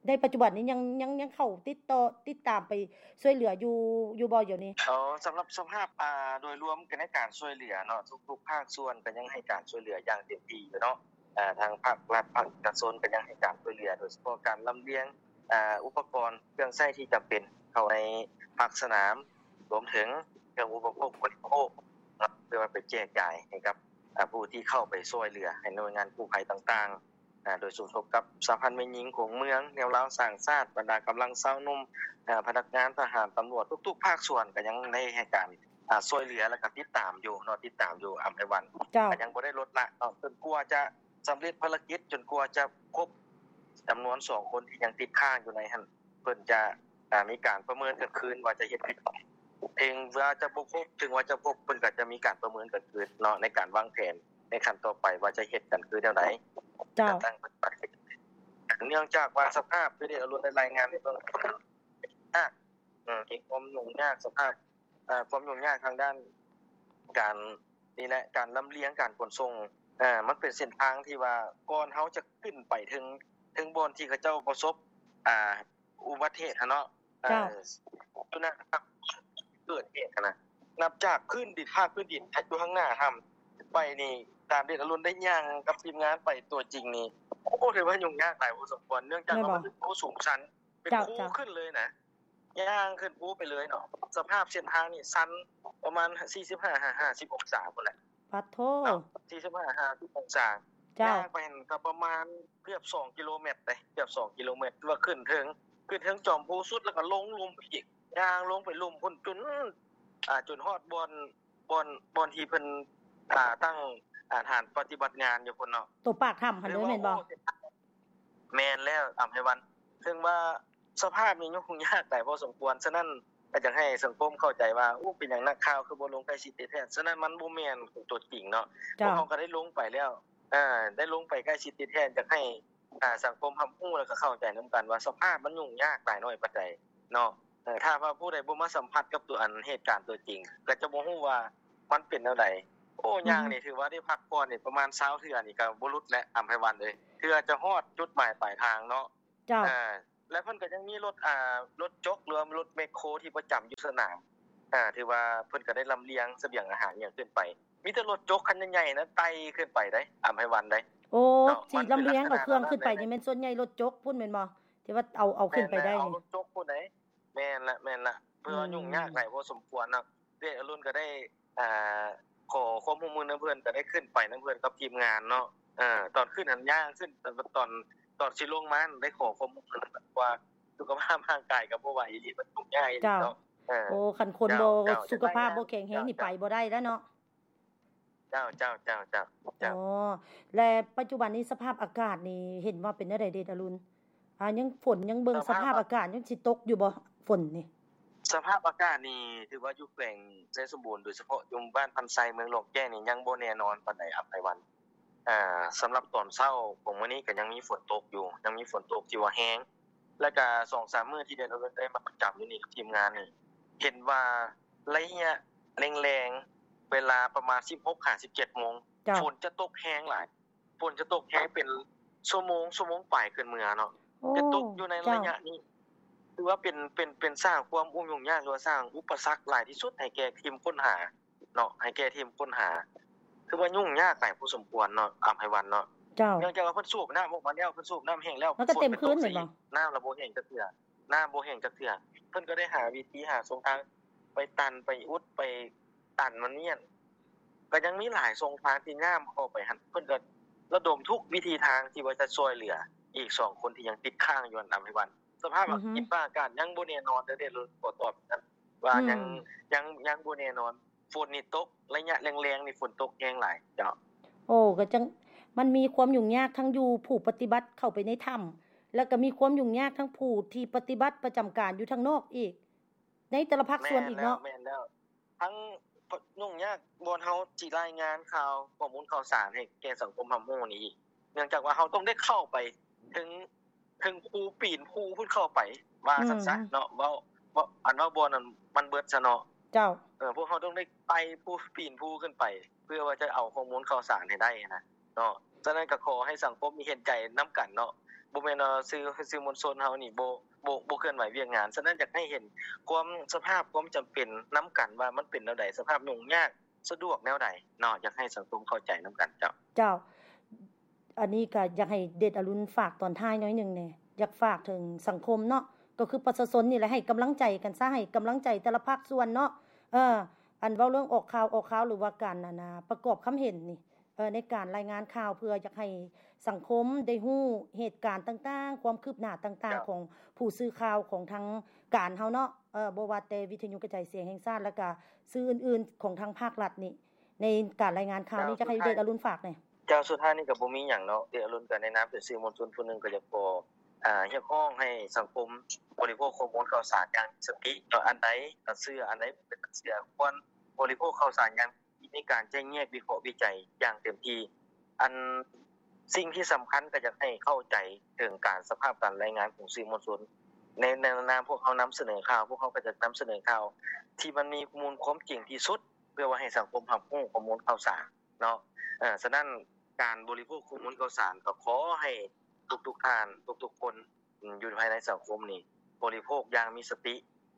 ໃນປັດຈຸບັນນີ້ຍັງ ຍັງ ຍັງເຂົ້າຕິດຕໍ່ ຕິດຕາມໄປຊ່ວຍເຫຼືອຢູ່ ຢູ່ບໍ່ດຽວນີ້? ອໍ ສຳລັບສະພາບ ອາ ໂດຍລວມໃນການຊ່ວຍເຫຼືອເນາະ ທຸກໆພາກສ່ວນກໍຍັງໃຫ້ການຊ່ວຍເຫຼືອຢ່າງເຕັມທີ່ຢູ່ເນາະ. ອາ ທາງພາກລັດ ພາກເອກະຊົນກໍຍັງໃຫ້ການຊ່ວຍເຫຼືອ ໂດຍສະເພາະການລຳລຽງ ອາ ອຸປະກອນເຄື່ອງໃຊ້ທີ່ຈຳເປັນເຂົ້າໃນພາກສະໜາມ ລວມເຖິງເຄື່ອງອຸປະໂພກບໍລິໂພກເນາະ ເພື່ອວ່າໄປແຈກຈ່າຍໃຫ້ກັບ ອາ ຜູ້ທີ່ເຂົ້າໄປຊ່ວຍເຫຼືອໃຫ້ໜ່ວຍງານກູ້ໄພຕ່າງໆ ອາ ໂດຍສົມທົບກັບສະຫະພັນແມ່ຍິງຂອງເມືອງ ແນວລາວສ້າງຊາດ ບັນດາກຳລັງຊາວໜຸ່ມ ອາ ພະນັກງານທະຫານ ຕຳຫຼວດ ທຸກໆພາກສ່ວນກໍຍັງໄດ້ໃຫ້ການ ອາ ຊ່ວຍເຫຼືອ ແລ້ວກໍຕິດຕາມຢູ່ເນາະ ຕິດຕາມຢູ່ ອຳໄພວັນ. ເຈົ້າ. ກໍຍັງບໍ່ໄດ້ລົດລະເນາະ ຈົນກວ່າຈະສຳເລັດພາລະກິດ ຈົນກວ່າຈະຄົບຈຳນວນສອງຄົນທີ່ຍັງຕິດຄ້າງຢູ່ໃນຫັ້ນ ເພິ່ນຈະ ອາ ມີການປະເມີນກັນຄືນວ່າຈະເຮັດ ເຖິງວ່າຈະບໍ່ຄົບ ເຖິງວ່າຈະຄົບ ເພິ່ນກໍຈະມີການປະເມີນກັນຄືນເນາະ ໃນການວາງແຜນໃນຂັ້ນຕໍ່ໄປວ່າຈະເຮັດກັນຄືແນວໃດ. ເຈົ້າ. ເນື່ອງຈາກວ່າສະພາບຄືທີ່ອາລຸນໄດ້ລາຍງານໃນເບື້ອງຕົ້ນ ອາ ເອີ ມີຄວາມຫຍຸ້ງຍາກ ສະພາບ ເອີ ຄວາມຫຍຸ້ງຍາກທາງດ້ານການ ນີ້ແຫຼະ ການລຳລຽງ ການຂົນສົ່ງ ເອີ ມັນເປັນເສັ້ນທາງທີ່ວ່າ ກ່ອນເຮົາຈະຂຶ້ນໄປເຖິງ ເຖິງບ່ອນທີ່ເຂົາເຈົ້າປະສົບ ອາ ອຸບັດເຫດຫັ້ນເນາະ. ເຈົ້າ. ເອີ ຢູ່ນະ ເກີດເຫດຫັ້ນນະ ນັບຈາກພື້ນດິນ ພາກພື້ນດິນຢູ່ທາງໜ້າຖ້ຳໄປນີ້ ຕາມທີ່ອາລຸນໄດ້ຍ່າງກັບທີມງານໄປຕົວຈິງນີ້ ໂອ້ ຖືວ່າຫຍຸ້ງຍາກຫຼາຍພໍສົມຄວນ ເນື່ອງຈາກວ່າມັນເປັນພູສູງຊັນ ເປັນພູຂຶ້ນເລີຍນະ. ເຈົ້າ. ຍ່າງຂຶ້ນພູໄປເລີຍເນາະ ສະພາບເສັ້ນທາງນີ້ຊັນປະມານສີ່ສິບຫ້າຫາຫ້າສິບອົງສາພຸ້ນແຫຼະ. ປາດໂທ້ ເນາະ ສີ່ສິບຫ້າຫາຫ້າສິບອົງສາ. ເຈົ້າ. ຍ່າງໄປຫັ້ນກໍປະມານເກືອບສອງກິໂລແມັດເດ້ ເກືອບສອງກິໂລແມັດ ຄືວ່າຂຶ້ນເທິງ ຂຶ້ນເທິງຈອມພູສຸດ ແລ້ວກໍລົງລຸ່ມອີກ ຍ່າງລົງໄປລຸ່ມພຸ້ນຈົນ ອ່າ ຈົນຮອດບ່ອນ ບ່ອນ ບ່ອນທີ່ເພິ່ນ ອ່າ ຕັ້ງ ອ່າ ຖານປະຕິບັດງານຢູ່ພຸ້ນເນາະ ໂຕປາກຖ້ຳຫັ້ນເດີແມ່ນບໍ່? ແມ່ນແລ້ວ ອຳໄພວັນ ເຊິ່ງວ່າສະພາບນີ້ຫຍຸ້ງຍາກຫຼາຍພໍສົມຄວນ. ສະນັ້ນກໍຢາກໃຫ້ສັງຄົມເຂົ້າໃຈວ່າ ໂອ້ ເປັນຫຍັງນັກຂ່າວຄືບໍ່ລົງໃກ້ຊິດຕິດແທດ? ສະນັ້ນມັນບໍ່ແມ່ນຕົວຈິງເນາະ. ເຈົ້າ. ພວກເຮົາກໍໄດ້ລົງໄປແລ້ວ ເອີ ໄດ້ລົງໄປໃກ້ຊິດຕິດແທດ ຢາກໃຫ້ ອ່າ ສັງຄົມຮັບຮູ້ ແລ້ວກໍເຂົ້າໃຈນຳກັນວ່າສະພາບມັນຫຍຸ້ງຍາກຫຼາຍໜ້ອຍປານໃດເນາະ. ເອີ ຖ້າວ່າຜູ້ໃດບໍ່ມາສຳຜັດກັບຕົວ ອັນ ເຫດການຕົວຈິງ ກໍຈະບໍ່ຮູ້ວ່າມັນເປັນແນວໃດ. ໂອ້ ອືຮຶ ຍ່າງນີ້ຖືວ່າໄດ້ພັກຜ່ອນນີ້ປະມານຊາວເທື່ອນີ້ກໍບໍ່ຫຼຸດແຫຼະ ອຳໄພວັນເອີຍ ເທື່ອຈະຮອດຈຸດໝາຍປາຍທາງເນາະ. ເຈົ້າ. ເອີ ແລະເພິ່ນກໍຍັງມີລົດ ອ່າ ລົດຈົກ ຫຼືວ່າລົດແມັກໂຄທີ່ປະຈຳຢູ່ສະໜາມ ອ່າ ຖືວ່າເພິ່ນກໍໄດ້ລຳລຽງສະບຽງອາຫານຫຍັງຂຶ້ນໄປ. ມີແຕ່ລົດຈົກຄັນໃຫຍ່ໆນະ ໄຕ່ຂຶ້ນໄປໄດ໋ ອຳໄພວັນເດ້. ໂອ້ ເນາະ ຊິລຳລຽງເອົາເຄື່ອງຂຶ້ນໄປນີ້ແມ່ນສ່ວນໃຫຍ່ລົດຈົກພຸ້ນແມ່ນບໍ່? ທີ່ວ່າເອົາ ເອົາຂຶ້ນໄປໄດ້ນີ້ ລົດຈົກພຸ້ນເດ້. ແມ່ນລະ ແມ່ນລະ ເພາະວ່າຫຍຸ້ງຍາກຫຼາຍພໍສົມຄວນເນາະ. ເດດອາລຸນກໍໄດ້ ອ່າ ຂໍຄວາມຮ່ວມມືນຳເພິ່ນ ກໍໄດ້ຂຶ້ນໄປນຳເພິ່ນກັບທີມງານເນາະ. ເອີ ຕອນຂຶ້ນຫັ້ນຍ່າງຂຶ້ນ ຕອນ ຕອນຊິລົງມາຫັ້ນໄດ້ຂໍຄວາມຮ່ວມມືນຳເພິ່ນ ເພາະວ່າສຸຂະພາບຮ່າງກາຍກໍບໍ່ໄຫວອີ່ຫຼີ ມັນຫຍຸ້ງຍາກອີ່ຫຼີເນາະ. ເຈົ້າ. ເອີ ໂອ້ ຄັນຄົນບໍ່ ເຈົ້າ ເຈົ້າ ສຸຂະພາບບໍ່ແຂງແຮງນີ້ໄປບໍ່ໄດ້ແລ້ວເນາະ. ເຈົ້າ ເຈົ້າ ເຈົ້າ ເຈົ້າ ເຈົ້າ. ອໍ ແລະ ປັດຈຸບັນນີ້ສະພາບອາກາດນີ້ເຫັນວ່າເປັນແນວໃດເດດອາລຸນ? ອ່າ ຍັງຝົນ ຍັງເບິ່ງສະພາບອາກາດ ຍັງຊິຕົກຢູ່ບໍ່ຝົນນີ້? ສະພາບອາກາດນີ້ຖືວ່າຢູ່ແຂວງໄຊສົມບູນ ໂດຍສະເພາະຢູ່ບ້ານພັນໄຊ ເມືອງຫຼວງແກ້ງນີ້ ຍັງບໍ່ແນ່ນອນປານໃດ ອຳໄພວັນ. ອ່າ ສຳລັບຕອນເຊົ້າຂອງມື້ນີ້ກໍຍັງມີຝົນຕົກຢູ່ ຍັງມີຝົນຕົກທີ່ວ່າແຮງ ແລ້ວກະສອງສາມມື້ທີ່ແດນອຸດົມໄດ້ມາປະຈຳຢູ່ນີ້ກັບທີມງານນີ້ ເຫັນວ່າໄລຍະແລງໆ ເວລາປະມານສິບຫົກຫາສິບເຈັດໂມງ ເຈົ້າ ຝົນຈະຕົກແຮງຫຼາຍ ຝົນຈະຕົກແຮງເປັນຊົ່ວໂມງ ຊົ່ວໂມງປາຍຂຶ້ນເມືອເນາະ ໂອ້ ຈະຕົກຢູ່ໃນ ເຈົ້າ ໄລຍະນີ້ ຖືວ່າເປັນ ເປັນ ເປັນສ້າງຄວາມຫຍຸ້ງຍາກ ຫຼືວ່າສ້າງອຸປະສັກຫຼາຍທີ່ສຸດໃຫ້ແກ່ທີມຄົ້ນຫາເນາະ ໃຫ້ແກ່ທີມຄົ້ນຫາ ຖືວ່າຫຍຸ້ງຍາກຫຼາຍພໍສົມຄວນເນາະ ອຳໄພວັນເນາະ ເຈົ້າ ເນື່ອງຈາກວ່າເພິ່ນສູບນ້ຳອອກມາແລ້ວ ເພິ່ນສູບນ້ຳແຫ້ງແລ້ວ ມັນກໍເຕັມຄືນແມ່ນບໍ່? ຝົນກໍຕົກ ນ້ຳລະບໍ່ແຫ້ງຈັກເທື່ອ ນ້ຳບໍ່ແຫ້ງຈັກເທື່ອ ເພິ່ນກໍໄດ້ຫາວິທີຫາຊ່ອງທາງໄປຕັນ ໄປອຸດ ໄປຕັນມັນນີ້ ກໍຍັງມີຫຼາຍຊ່ອງທາງທີ່ນ້ຳເຂົ້າໄປຫັ້ນ ເພິ່ນກໍລະດົມທຸກວິທີທາງທີ່ວ່າຈະຊ່ວຍເຫຼືອອີກສອງຄົນທີ່ຍັງຕິດຄ້າງຢູ່ຫັ້ນ ອຳໄພວັນ. ສະພາບ ອືຮຶ ດິນຟ້າອາກາດຍັງບໍ່ແນ່ນອນເດີ ເດດ ຂໍຕອບ ອືມ ວ່າຍັງ ຍັງ ຍັງບໍ່ແນ່ນອນ ຝົນນີ້ຕົກ ໄລຍະແລງໆນີ້ຝົນຕົກແຮງຫຼາຍ ເຈົ້າ. ໂອ້ ກໍຈັ່ງ ມັນມີຄວາມຫຍຸ້ງຍາກທັງຢູ່ຜູ້ປະຕິບັດເຂົ້າໄປໃນຖ້ຳ ແລ້ວກໍມີຄວາມຫຍຸ້ງຍາກທັງຜູ້ທີ່ປະຕິບັດປະຈຳການຢູ່ທາງນອກອີກ ໃນແຕ່ລະພາກສ່ວນອີກເນາະ ແມ່ນແລ້ວ ແມ່ນແລ້ວ ທັງຫຍຸ້ງຍາກບ່ອນເຮົາຊິລາຍງານຂ່າວ ຂໍ້ມູນຂ່າວສານໃຫ້ແກ່ສັງຄົມຮັບຮູ້ນີ້ອີກ ເນື່ອງຈາກວ່າເຮົາຕ້ອງໄດ້ເຂົ້າໄປເຖິງ ເຖິງພູ ປີນພູພຸ້ນເຂົ້າໄປ ວ່າຊັ້ນຊະ ອືມ ເນາະ ເວົ້າ ເວົ້າ ອັນວ່າບ່ອນນັ້ນມັນເບິດຊະເນາະ ເຈົ້າ ເອີ ພວກເຮົາຕ້ອງໄດ້ໄຕ່ພູ ປີນພູຂຶ້ນໄປ ເພື່ອວ່າຈະເອົາຂໍ້ມູນຂ່າວສານໃຫ້ໄດ້ຫັ້ນນະ ເນາະ ສະນັ້ນກໍຂໍໃຫ້ສັງຄົມເຫັນໃຈນຳກັນເນາະ ບໍ່ແມ່ນວ່າສື່ ສື່ມວນຊົນເຮົານີ້ບໍ່ ບໍ່ ບໍ່ເຄື່ອນໄຫວວຽກງານ ສະນັ້ນຢາກໃຫ້ເຫັນຄວາມ ສະພາບຄວາມຈຳເປັນນຳກັນວ່າມັນເປັນແນວໃດ ສະພາບຫຍຸ້ງຍາກສະດວກແນວໃດເນາະ ຢາກໃຫ້ສັງຄົມເຂົ້າໃຈນຳກັນ ເຈົ້າ. ເຈົ້າ ອັນນີ້ກໍຢາກໃຫ້ເດດອະລຸນຝາກຕອນທ້າຍໜ້ອຍໜຶ່ງແດ່ ຢາກຝາກເຖິງສັງຄົມເນາະ ກໍຄືປະຊາຊົນນີ້ແຫຼະ ໃຫ້ກຳລັງໃຈກັນຊະ ໃຫ້ກຳລັງໃຈແຕ່ລະພາກສ່ວນເນາະ ເອີ ອັນເວົ້າເລື່ອງອອກຂ່າວ ອອກຂ່າວ ຫຼືວ່າການ ອັນນ່າ ປະກອບຄຳເຫັນນີ້ ເອີ ໃນການລາຍງານຂ່າວ ເພື່ອຢາກໃຫ້ສັງຄົມໄດ້ຮູ້ເຫດການຕ່າງໆ ຄວາມຄືບໜ້າຕ່າງໆ ເຈົ້າ ຂອງຜູ້ສື່ຂ່າວຂອງທາງການເຮົາເນາະ ເອີ ບໍ່ວ່າແຕ່ວິທະຍຸກະຈາຍສຽງແຫ່ງຊາດ ແລ້ວກະສື່ອື່ນໆຂອງທາງພາກລັດນີ້ ໃນການລາຍງານຂ່າວນີ້ ເຈົ້າ ຢາກໃຫ້ເດດອະລຸນຝາກແດ່. ເຈົ້າ ສຸດທ້າຍນີ້ກໍບໍ່ມີຫຍັງເນາະ ເດດອະລຸນກໍໃນນາມເປັນສື່ມວນຊົນຜູ້ໜຶ່ງ ກໍຢາກຂໍ ອາ ຮຽກຮ້ອງໃຫ້ສັງຄົມບໍລິໂພກຂໍ້ມູນຂ່າວສານຢ່າງມີສະຕິເນາະ ອັນໃດກໍເຊື່ອ ອັນໃດບໍ່ເປັນຕາເຊື່ອ ຄວນບໍລິໂພກຂ່າວສານຢ່າງ ມີການແຈກແຍກ ວິເຄາະ ວິໄຈຢ່າງເຕັມທີ່ ອັນ ສິ່ງທີ່ສຳຄັນກໍຢາກໃຫ້ເຂົ້າໃຈເຖິງການ ສະພາບການລາຍງານຂອງສື່ມວນຊົນ ໃນ ໃນນາມພວກເຮົານຳສະເໜີຂ່າວ ພວກເຮົາກໍຈະນຳສະເໜີຂ່າວທີ່ມັນມີມູນຄວາມຈິງທີ່ສຸດ ເພື່ອວ່າໃຫ້ສັງຄົມຮັບຮູ້ຂໍ້ມູນຂ່າວສານເນາະ ເອີ ສະນັ້ນການບໍລິໂພກຂໍ້ມູນຂ່າວສານກໍຂໍໃຫ້ທຸກໆທ່ານ ທຸກໆຄົນ ອາ ຢູ່ພາຍໃນສັງຄົມນີ້ ບໍລິໂພກຢ່າງມີສະຕ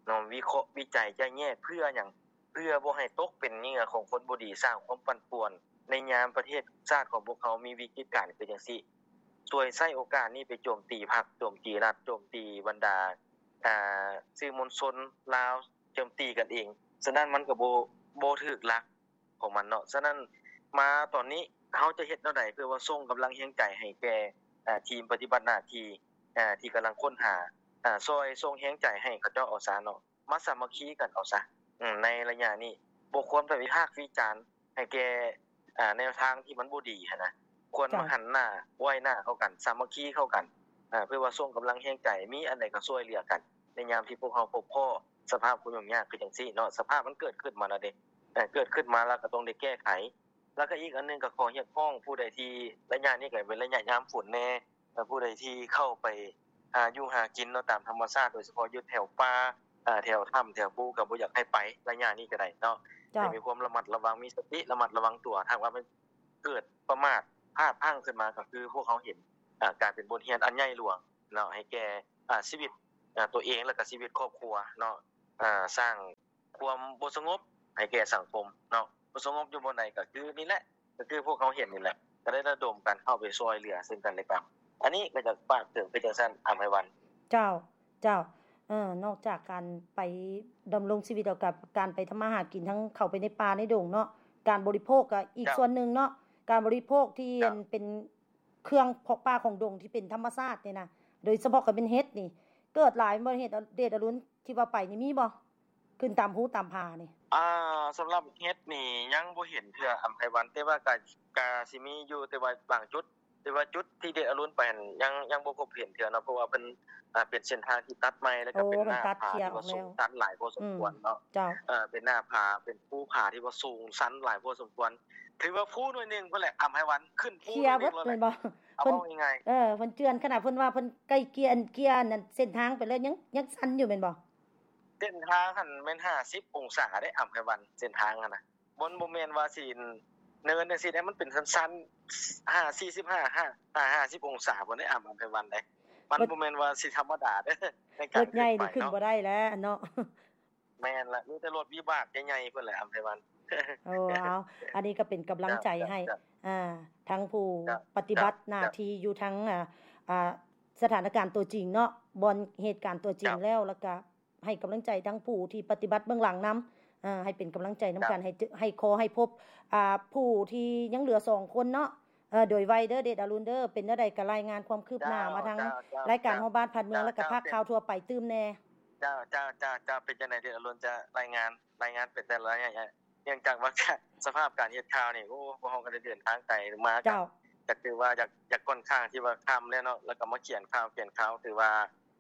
ິເນາະ ວິເຄາະ ວິໄຈ ແຈກແຍກ ເພື່ອຫຍັງ? ເພື່ອບໍ່ໃຫ້ຕົກເປັນເຫຍື່ອຂອງຄົນບໍ່ດີ ສ້າງຄວາມປັ່ນປ່ວນໃນຍາມປະເທດຊາດຂອງພວກເຮົາມີວິກິດການຄືຈັ່ງຊີ້ ຊ່ວຍໃຊ້ໂອກາດນີ້ໄປໂຈມຕີພັກ ໂຈມຕີລັດ ໂຈມຕີບັນດາ ອາ ສື່ມວນຊົນລາວ ໂຈມຕີກັນເອງ ສະນັ້ນມັນກໍບໍ່ ບໍ່ຖືກຫຼັກ ຂອງມັນເນາະ ສະນັ້ນມາຕອນນີ້ເຮົາຈະເຮັດແນວໃດເພື່ອວ່າສົ່ງກຳລັງແຮງໃຈໃຫ້ແກ່ ເອີ ທີມປະຕິບັດໜ້າທີ່ ເອີ ທີ່ກຳລັງຄົ້ນຫາ ເອີ ຊ່ອຍສົ່ງແຮງໃຈໃຫ້ເຂົາເຈົ້າເອົາຊະເນາະ ມາສາມັກຄີກັນເອົາຊະ ອືມ ໃນໄລຍະນີ້ ບໍ່ຄວນໄປວິພາກວິຈານໃຫ້ແກ່ ເອີ ແນວທາງທີ່ມັນບໍ່ດີຫັ້ນນະ ຄວນມາ ເຈົ້າ ຫັນໜ້າໄວ້ໜ້າເຂົ້າກັນ ສາມັກຄີເຂົ້າກັນ ເອີ ເພື່ອວ່າສົ່ງກຳລັງແຮງໃຈ ມີອັນໃດກໍຊ່ວຍເຫຼືອກັນ ໃນຍາມທີ່ພວກເຮົາພົບພໍ້ສະພາບຄວາມຫຍຸ້ງຍາກຄືຈັ່ງຊີ້ເນາະ ສະພາບມັນເກີດຂຶ້ນມາແລ້ວເດ້ ເກີດຂຶ້ນມາແລ້ວກໍຕ້ອງໄດ້ແກ້ໄຂ ແລ້ວກໍອີກອັນໜຶ່ງກໍຂໍຮຽກຮ້ອງຜູ້ໃດທີ່ ໄລຍະນີ້ກໍເປັນໄລຍະຍາມຝົນແດ່ ຜູ້ໃດທີ່ເຂົ້າໄປຫາຢູ່ຫາກິນເນາະ ຕາມທຳມະຊາດ ໂດຍສະເພາະຢູ່ແຖວປ່າ ເອີ ແຖວຖ້ຳແຖວພູ ກໍບໍ່ຢາກໃຫ້ໄປໄລຍະນີ້ກໍໄດ້ເນາະ ເຈົ້າ ໃຫ້ມີຄວາມລະມັດລະວັງ ມີສະຕິລະມັດລະວັງຕົວ ຖ້າຫາກວ່າມັນເກີດປະໝາດພາດພລັ້ງຂຶ້ນມາ ກໍຄືພວກເຮົາເຫັນ ເອີ ກາຍເປັນບົດຮຽນອັນໃຫຍ່ຫຼວງເນາະ ໃຫ້ແກ່ ອາ ຊີວິດ ອາ ຕົວເອງ ແລ້ວກໍຊີວິດຄອບຄົວເນາະ ອາ ສ້າງຄວາມບໍ່ສະຫງົບໃຫ້ແກ່ສັງຄົມເນາະ ບໍ່ສະຫງົບຢູ່ບ່ອນໃດກໍຄືນີ້ແຫຼະ ກໍຄືພວກເຮົາເຫັນນີ້ແຫຼະ ກໍໄດ້ລະດົມກັນເຂົ້າໄປຊ່ວຍເຫຼືອເຊິ່ງກັນແລະກັນ ອັນນີ້ກໍຢາກຝາກເຖິງຄືຈັ່ງຊັ້ນ ອຳໄພວັນ. ເຈົ້າ ເຈົ້າ ເອີ ນອກຈາກການໄປດຳລົງຊີວິດ ແລ້ວກໍການໄປທຳມາຫາກິນ ທັງເຂົ້າໄປໃນປ່າໃນດົງເນາະ ການບໍລິໂພກກໍອີກ ເຈົ້າ ສ່ວນໜຶ່ງເນາະ ການບໍລິໂພກທີ່ ເຈົ້າ ອັນເປັນ ເຄື່ອງເພາະປ່າຂອງດົງທີ່ເປັນທຳມະຊາດນີ້ນະ ໂດຍສະເພາະກໍເປັນເຫັດນີ້ ເກີດຫຼາຍບໍ່ ເຫັດ ເດດອະລຸນ ທີ່ວ່າໄປນີ້ມີບໍ່? ຂຶ້ນຕາມພູຕາມຜານີ້. ອ່າ ສຳລັບເຫັດນີ້ຍັງບໍ່ເຫັນເທື່ອ ອຳໄພວັນ ແຕ່ວ່າກະ ກະຊິມີຢູ່ ແຕ່ວ່າບາງຈຸດ ແຕ່ວ່າຈຸດທີ່ເດດອະລຸນໄປຫັ້ນ ຍັງ ຍັງບໍ່ພົບເຫັນເທື່ອເນາະ ເພາະວ່າເພິ່ນ ອ່າ ເປັນເສັ້ນທາງທີ່ຕັດໃໝ່ ແລ້ວກໍເປັນໜ້າຜາທີ່ວ່າສູງຊັນຫຼາຍພໍສົມຄວນເນາະ. ເອີ ເປັນໜ້າຜາ ເປັນພູຜາທີ່ວ່າສູງຊັນຫຼາຍພໍສົມຄວນ. ຖືວ່າພູໜ່ວຍໜຶ່ງພຸ້ນແຫຼະ ອຳໄພວັນ ຂຶ້ນພູໜ່ວຍໜຶ່ງແລ້ວແຫຼະ ເອົາເວົ້າງ່າຍໆ. ເອີ ເພິ່ນເຈື່ອນຂະໜາດເພິ່ນວ່າເພິ່ນໃກ້ເກຍ ເກຍອັນເສັ້ນທາງໄປແລ້ວ ຍັງ ຍັງຊັນຢູ່ແມ່ນບໍ່? ເສັ້ນທາງຫັ້ນແມ່ນຫ້າສິບອົງສາເດ້ ອຳໄພວັນ ເສັ້ນທາງຫັ້ນນະ. ມັນບໍ່ແມ່ນວ່າຊິເນີນຈັ່ງຊີ້ເດ້ ມັນເປັນຊັນໆ ຫ້າ ສີ່ສິບຫ້າ ຫ້າ ຫ້າສິບອົງສາພຸ້ນເດ້ ອຳ ອຳໄພວັນເດ້. ມັນບໍ່ແມ່ນວ່າຊິທຳມະດາເດີ ໃນການຂຶ້ນໄປເນາະ. ລົດໃຫຍ່ນີ້ຂຶ້ນບໍ່ໄດ້ແລ້ວເນາະ. ແມ່ນລະ ມີແຕ່ລົດວິບາກໃຫຍ່ໆພຸ້ນແຫຼະ ອຳໄພວັນ. ໂອ້ ເອົາ ອັນນີ້ກໍເປັນກຳລັງໃຈໃຫ້ ອ່າ ທັງຜູ້ປະຕິບັດໜ້າທີ່ຢູ່ທັງ ອ່າ ສະຖານະການຕົວຈິງເນາະ ບ່ອນເຫດການຕົວຈິງແລ້ວ ແລ້ວກະ ໃຫ້ກຳລັງໃຈທັງຜູ້ທີ່ປະຕິບັດເບື້ອງຫຼັງນຳ ເອີ ໃຫ້ເປັນກຳລັງໃຈນຳກັນ ໃຫ້ ໃຫ້ຂໍໃຫ້ພົບ ອ່າ ຜູ້ທີ່ຍັງເຫຼືອສອງຄົນເນາະ ເອີ ໂດຍໄວເດີ ເດດອະລຸນເດີ. ເປັນແນວໃດກໍລາຍງານຄວາມຄືບໜ້າມາທາງລາຍການຮອດບ້ານຮອດເມືອງ ແລ້ວກໍພາກຂ່າວທົ່ວໄປຕື່ມແດ່. ເຈົ້າ ເຈົ້າ ເຈົ້າ ເຈົ້າ ເປັນຈັ່ງໃດ ເດດອະລຸນ ຈະລາຍງານ ລາຍງານໄປແຕ່ລະໄລຍະ ເນື່ອງຈາກວ່າ ສະພາບການເຮັດຂ່າວນີ້ ໂອ້ ພວກເຮົາກໍໄດ້ເດີນທາງໄກມາ ກໍ ກໍຖືວ່າຢາກ ຢາກຂ້ອນຂ້າງທີ່ວ່າຄ່ຳແລ້ວເນາະ ແລ້ວກໍມາຂຽນຂ່າວ ຂຽນຂ່າວ ຖືວ່າ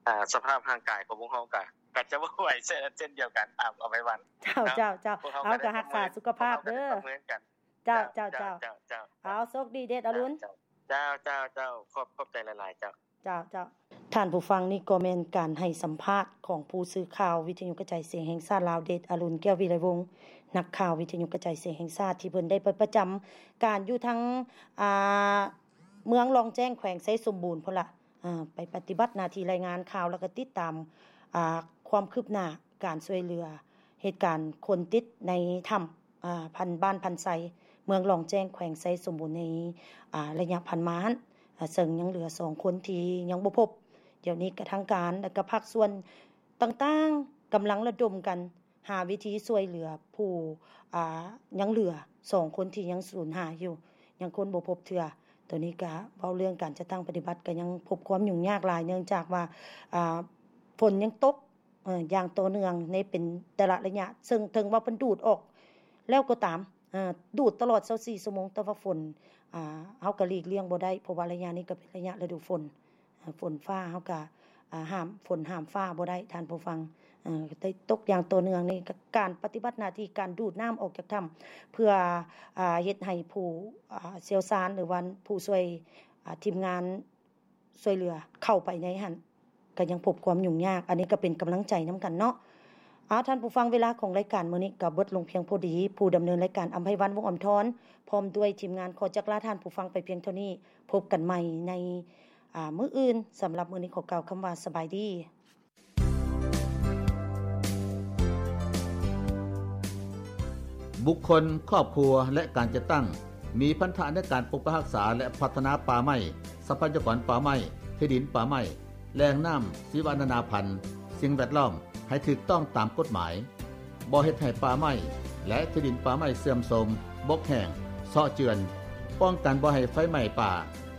ອ່າ ສະພາບຮ່າງກາຍຂອງພວກເຮົາກະ ກະຈະບໍ່ໄຫວເຊັ່ນ ເຊັ່ນດຽວກັນ ອຳ ອຳໄພວັນ. ເຈົ້າ ເຈົ້າ ເຈົ້າ ເຮົາກໍຮັກສາສຸຂະພາບເດີ. ເຈົ້າ ເຈົ້າ ເຈົ້າ ເອົາ ໂຊກດີເດດອະລຸນ. ເຈົ້າ ເຈົ້າ ເຈົ້າ ຂອບ ຂອບໃຈຫຼາຍໆ ເຈົ້າ. ເຈົ້າ ເຈົ້າ ທ່ານຜູ້ຟັງ ນີ້ກໍແມ່ນການໃຫ້ສຳພາດຂອງຜູ້ສື່ຂ່າວວິທະຍຸກະຈາຍສຽງແຫ່ງຊາດລາວ ເດດອະລຸນ ແກ້ວວິໄລວົງ ນັກຂ່າວວິທະຍຸກະຈາຍສຽງແຫ່ງຊາດ ທີ່ເພິ່ນໄດ້ໄປປະຈຳການຢູ່ທາງ ອ່າ ເມືອງລ່ອງແຈ້ງ ແຂວງໄຊສົມບູນພຸ້ນລະ ອ່າ ໄປປະຕິບັດໜ້າທີ່ລາຍງານຂ່າວ ແລ້ວກໍຕິດຕາມ ອ່າ ຄວາມຄືບໜ້າການຊ່ວຍເຫຼືອເຫດການຄົນຕິດໃນຖ້ຳ ອ່າ ພັນ ບ້ານພັນໄຊ ເມືອງລ່ອງແຈ້ງ ແຂວງໄຊສົມບູນ ໃນ ອ່າ ໄລຍະຜ່ານມາຫັ້ນ ເຊິ່ງຍັງເຫຼືອສອງຄົນທີ່ຍັງບໍ່ພົບ. ດຽວນີ້ກະທາງການ ແລະກະພາກສ່ວນຕ່າງໆ ກຳລັງລະດົມກັນຫາວິທີຊ່ວຍເຫຼືອຜູ້ ອ່າ ຍັງເຫຼືອສອງຄົນທີ່ຍັງສູນຫາຍຢູ່ ຍັງຄົ້ນບໍ່ພົບເທື່ອ. ໂຕນີ້ກະເວົ້າເລື່ອງການຈັດຕັ້ງປະຕິບັດ ກະຍັງພົບຄວາມຫຍຸ້ງຍາກຫຼາຍ ເນື່ອງຈາກວ່າ ອ່າ ຝົນຍັງຕົກ ເອີ ຢ່າງຕໍ່ເນື່ອງໃນເປັນແຕ່ລະໄລຍະ ເຊິ່ງເຖິງວ່າເພິ່ນດູດອອກແລ້ວກໍຕາມ ເອີ ດູດຕະຫຼອດຊາວສີ່ຊົ່ວໂມງ ແຕ່ວ່າຝົນ ອ່າ ເຮົາກໍຫຼີກລ່ຽງບໍ່ໄດ້ ເພາະວ່າໄລຍະນີ້ກໍເປັນໄລຍະລະດູຝົນ ເອີ ຝົນຟ້າ ເຮົາກໍ ອ່າ ຫ້າມຝົນຫ້າມຟ້າບໍ່ໄດ້ ທ່ານຜູ້ຟັງ ເອີ ໄດ້ຕົກຢ່າງຕໍ່ເນື່ອງນີ້ ການປະຕິບັດໜ້າທີ່ ການດູດນ້ຳອອກຈາກຖ້ຳ ເພື່ອ ອ່າ ເຮັດໃຫ້ຜູ້ ອ່າ ຊ່ຽວຊານ ຫຼືວ່າຜູ້ຊ່ວຍ ອ່າ ທີມງານ ຊ່ວຍເຫຼືອເຂົ້າໄປໃນຫັ້ນ ກໍຍັງພົບຄວາມຫຍຸ້ງຍາກ. ອັນນີ້ກໍເປັນກຳລັງໃຈນຳກັນເນາະ. ເອົາ ທ່ານຜູ້ຟັງ ເວລາຂອງລາຍການມື້ນີ້ກໍເບິດລົງພຽງພໍດີ. ຜູ້ດຳເນີນລາຍການ ອຳໄພວັນ ວົງອຳທອນ ພ້ອມດ້ວຍທີມງານ ຂໍຈັກລາທ່ານຜູ້ຟັງໄປພຽງເທົ່ານີ້. ພົບກັນໃໝ່ໃນ ອ່າ ມື້ອື່ນ. ສຳລັບມື້ນີ້ ຂໍກ່າວຄຳວ່າ ສະບາຍດີ. ບຸກຄົນ, ຄອບຄົວ ແລະ ການຈັດຕັ້ງ ມີພັນທະໃນການປົກປັກຮັກສາ ແລະ ພັດທະນາປ່າໄມ້, ຊັບພະຍາກອນປ່າໄມ້, ທີ່ດິນປ່າໄມ້, ແຫຼ່ງນ້ຳ, ຊີວະນານາພັນ, ສິ່ງແວດລ້ອມ ໃຫ້ຖືກຕ້ອງຕາມກົດໝາຍ, ບໍ່ເຮັດໃຫ້ປ່າໄມ້ ແລະ ທີ່ດິນປ່າໄມ້ເສື່ອມໂຊມ, ບົກແຫ້ງ, ເຊາະເຈື່ອນ, ປ້ອງກັນບໍ່ໃຫ້ໄຟໄໝ້ປ່າ,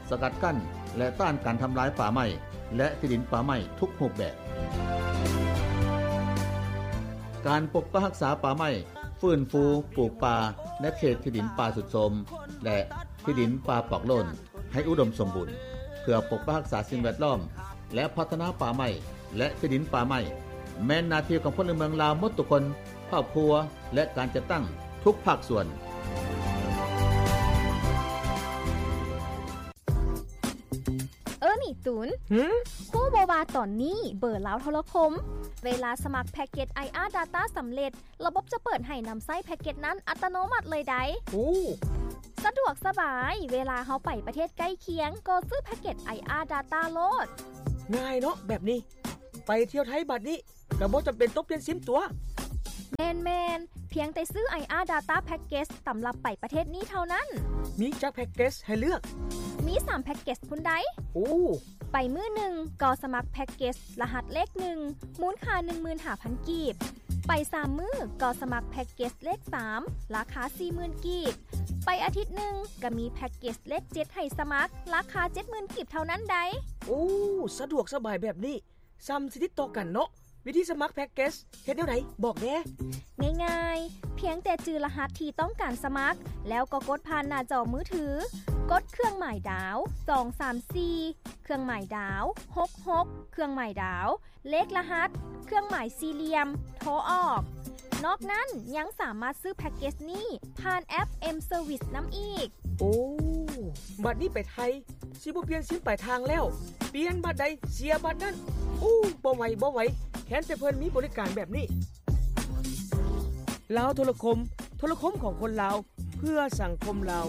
ສະກັດກັ້ນ ແລະ ຕ້ານການທຳລາຍປ່າໄມ້ ແລະ ທີ່ດິນປ່າໄມ້ທຸກຮູບແບບ. ການປົກປັກຮັກສາປ່າໄມ້, ຟື້ນຟູປູກປ່າໃນເຂດທີ່ດິນປ່າຊຸດໂຊມ ແລະ ທີ່ດິນປ່າປອກໂລ້ນໃຫ້ອຸດົມສົມບູນ ເພື່ອປົກປັກຮັກສາສິ່ງແວດລ້ອມ ແລະ ພັດທະນາປ່າໄມ້ ແລະ ທີ່ດິນປ່າໄມ້ ແມ່ນໜ້າທີ່ຂອງພົນລະເມືອງລາວໝົດທຸກຄົນ, ຄອບຄົວ ແລະ ການຈັດຕັ້ງທຸກພາກສ່ວນ. ເອີ ນີ້ຕູນ ຫື? ຮູ້ບໍ່ວ່າຕອນນີ້ເບີລາວໂທລະຄົມ ເວລາສະໝັກແພັກເກັດ ໄອອາ Data ສຳເລັດ, ລະບົບຈະເປີດໃຫ້ນຳໃຊ້ແພັກເກັດນັ້ນອັດຕະໂນມັດເລີຍໃດ໋. ໂອ້ ສະດວກສະບາຍ, ເວລາເຮົາໄປປະເທດໃກ້ຄຽງ ກໍຊື້ແພັກເກັດ ໄອອາ Data ໂລດ. ງ່າຍເນາະແບບນີ້, ໄປທ່ຽວໄທບາດນີ້ ກໍບໍ່ຈຳເປັນຕ້ອງປ່ຽນຊິມຕົວະ. ແມ່ນໆ, ພຽງແຕ່ຊື້ ໄອອາ Data Package ສຳລັບໄປປະເທດນີ້ເທົ່ານັ້ນ. ມີຈັກແພັກເກັດໃຫ້ເລືອກ? ມີສາມແພັກເກັດພຸ້ນໃດ໋. ໂອ້ ໄປມື້ໜຶ່ງກໍສະໝັກແພັກເກັດລະຫັດເລກໜຶ່ງ ມູນຄ່າໜຶ່ງໝື່ນຫ້າພັນກີບ. ໄປສາມມື້ກໍສະໝັກແພັກເກັດເລກສາມ ລາຄາສີ່ໝື່ນກີບ. ໄປອາທິດໜຶ່ງກໍມີແພັກເກັດເລກເຈັດໃຫ້ສະໝັກ ລາຄາເຈັດໝື່ນກີບເທົ່ານັ້ນໃດ໋. ໂອ້ ສະດວກສະບາຍແບບນີ້ ສ່ຳຊິຕິດຕໍ່ກັນເນາະ. ວິທີສະໝັກແພັກເກັດເຮັດແນວໃດ? ບອກແດ່. ງ່າຍໆ, ພຽງແຕ່ຈື່ລະຫັດທີ່ຕ້ອງການສະໝັກ ແລ້ວກໍກົດຜ່ານໜ້າຈໍມືຖື, ກົດເຄື່ອງໝາຍດາວ ສອງສາມສີ່ ເຄື່ອງໝາຍດາວ ຫົກຫົກ ເຄື່ອງໝາຍດາວ ເລກລະຫັດ ເຄື່ອງໝາຍສີ່ຫຼ່ຽມ ໂທອອກ. ນອກນັ້ນຍັງສາມາດຊື້ແພັກເກັດນີ້ຜ່ານແອັບ M Service ນຳອີກ. ໂອ້ ບັດນີ້ໄປໄທ ຊິບໍ່ປ່ຽນຊິມປາຍທາງແລ້ວ, ປ່ຽນບັດໃດເສຍບັດນັ້ນ. ໂອ້ ບໍ່ໄຫວ ບໍ່ໄຫວ, ແຄ້ນແຕ່ເພິ່ນມີບໍລິການແບບນີ້. ລາວໂທລະຄົມ, ໂທລະຄົມຂອງຄົນລາວ ເພື່ອສັງຄົມລາວ.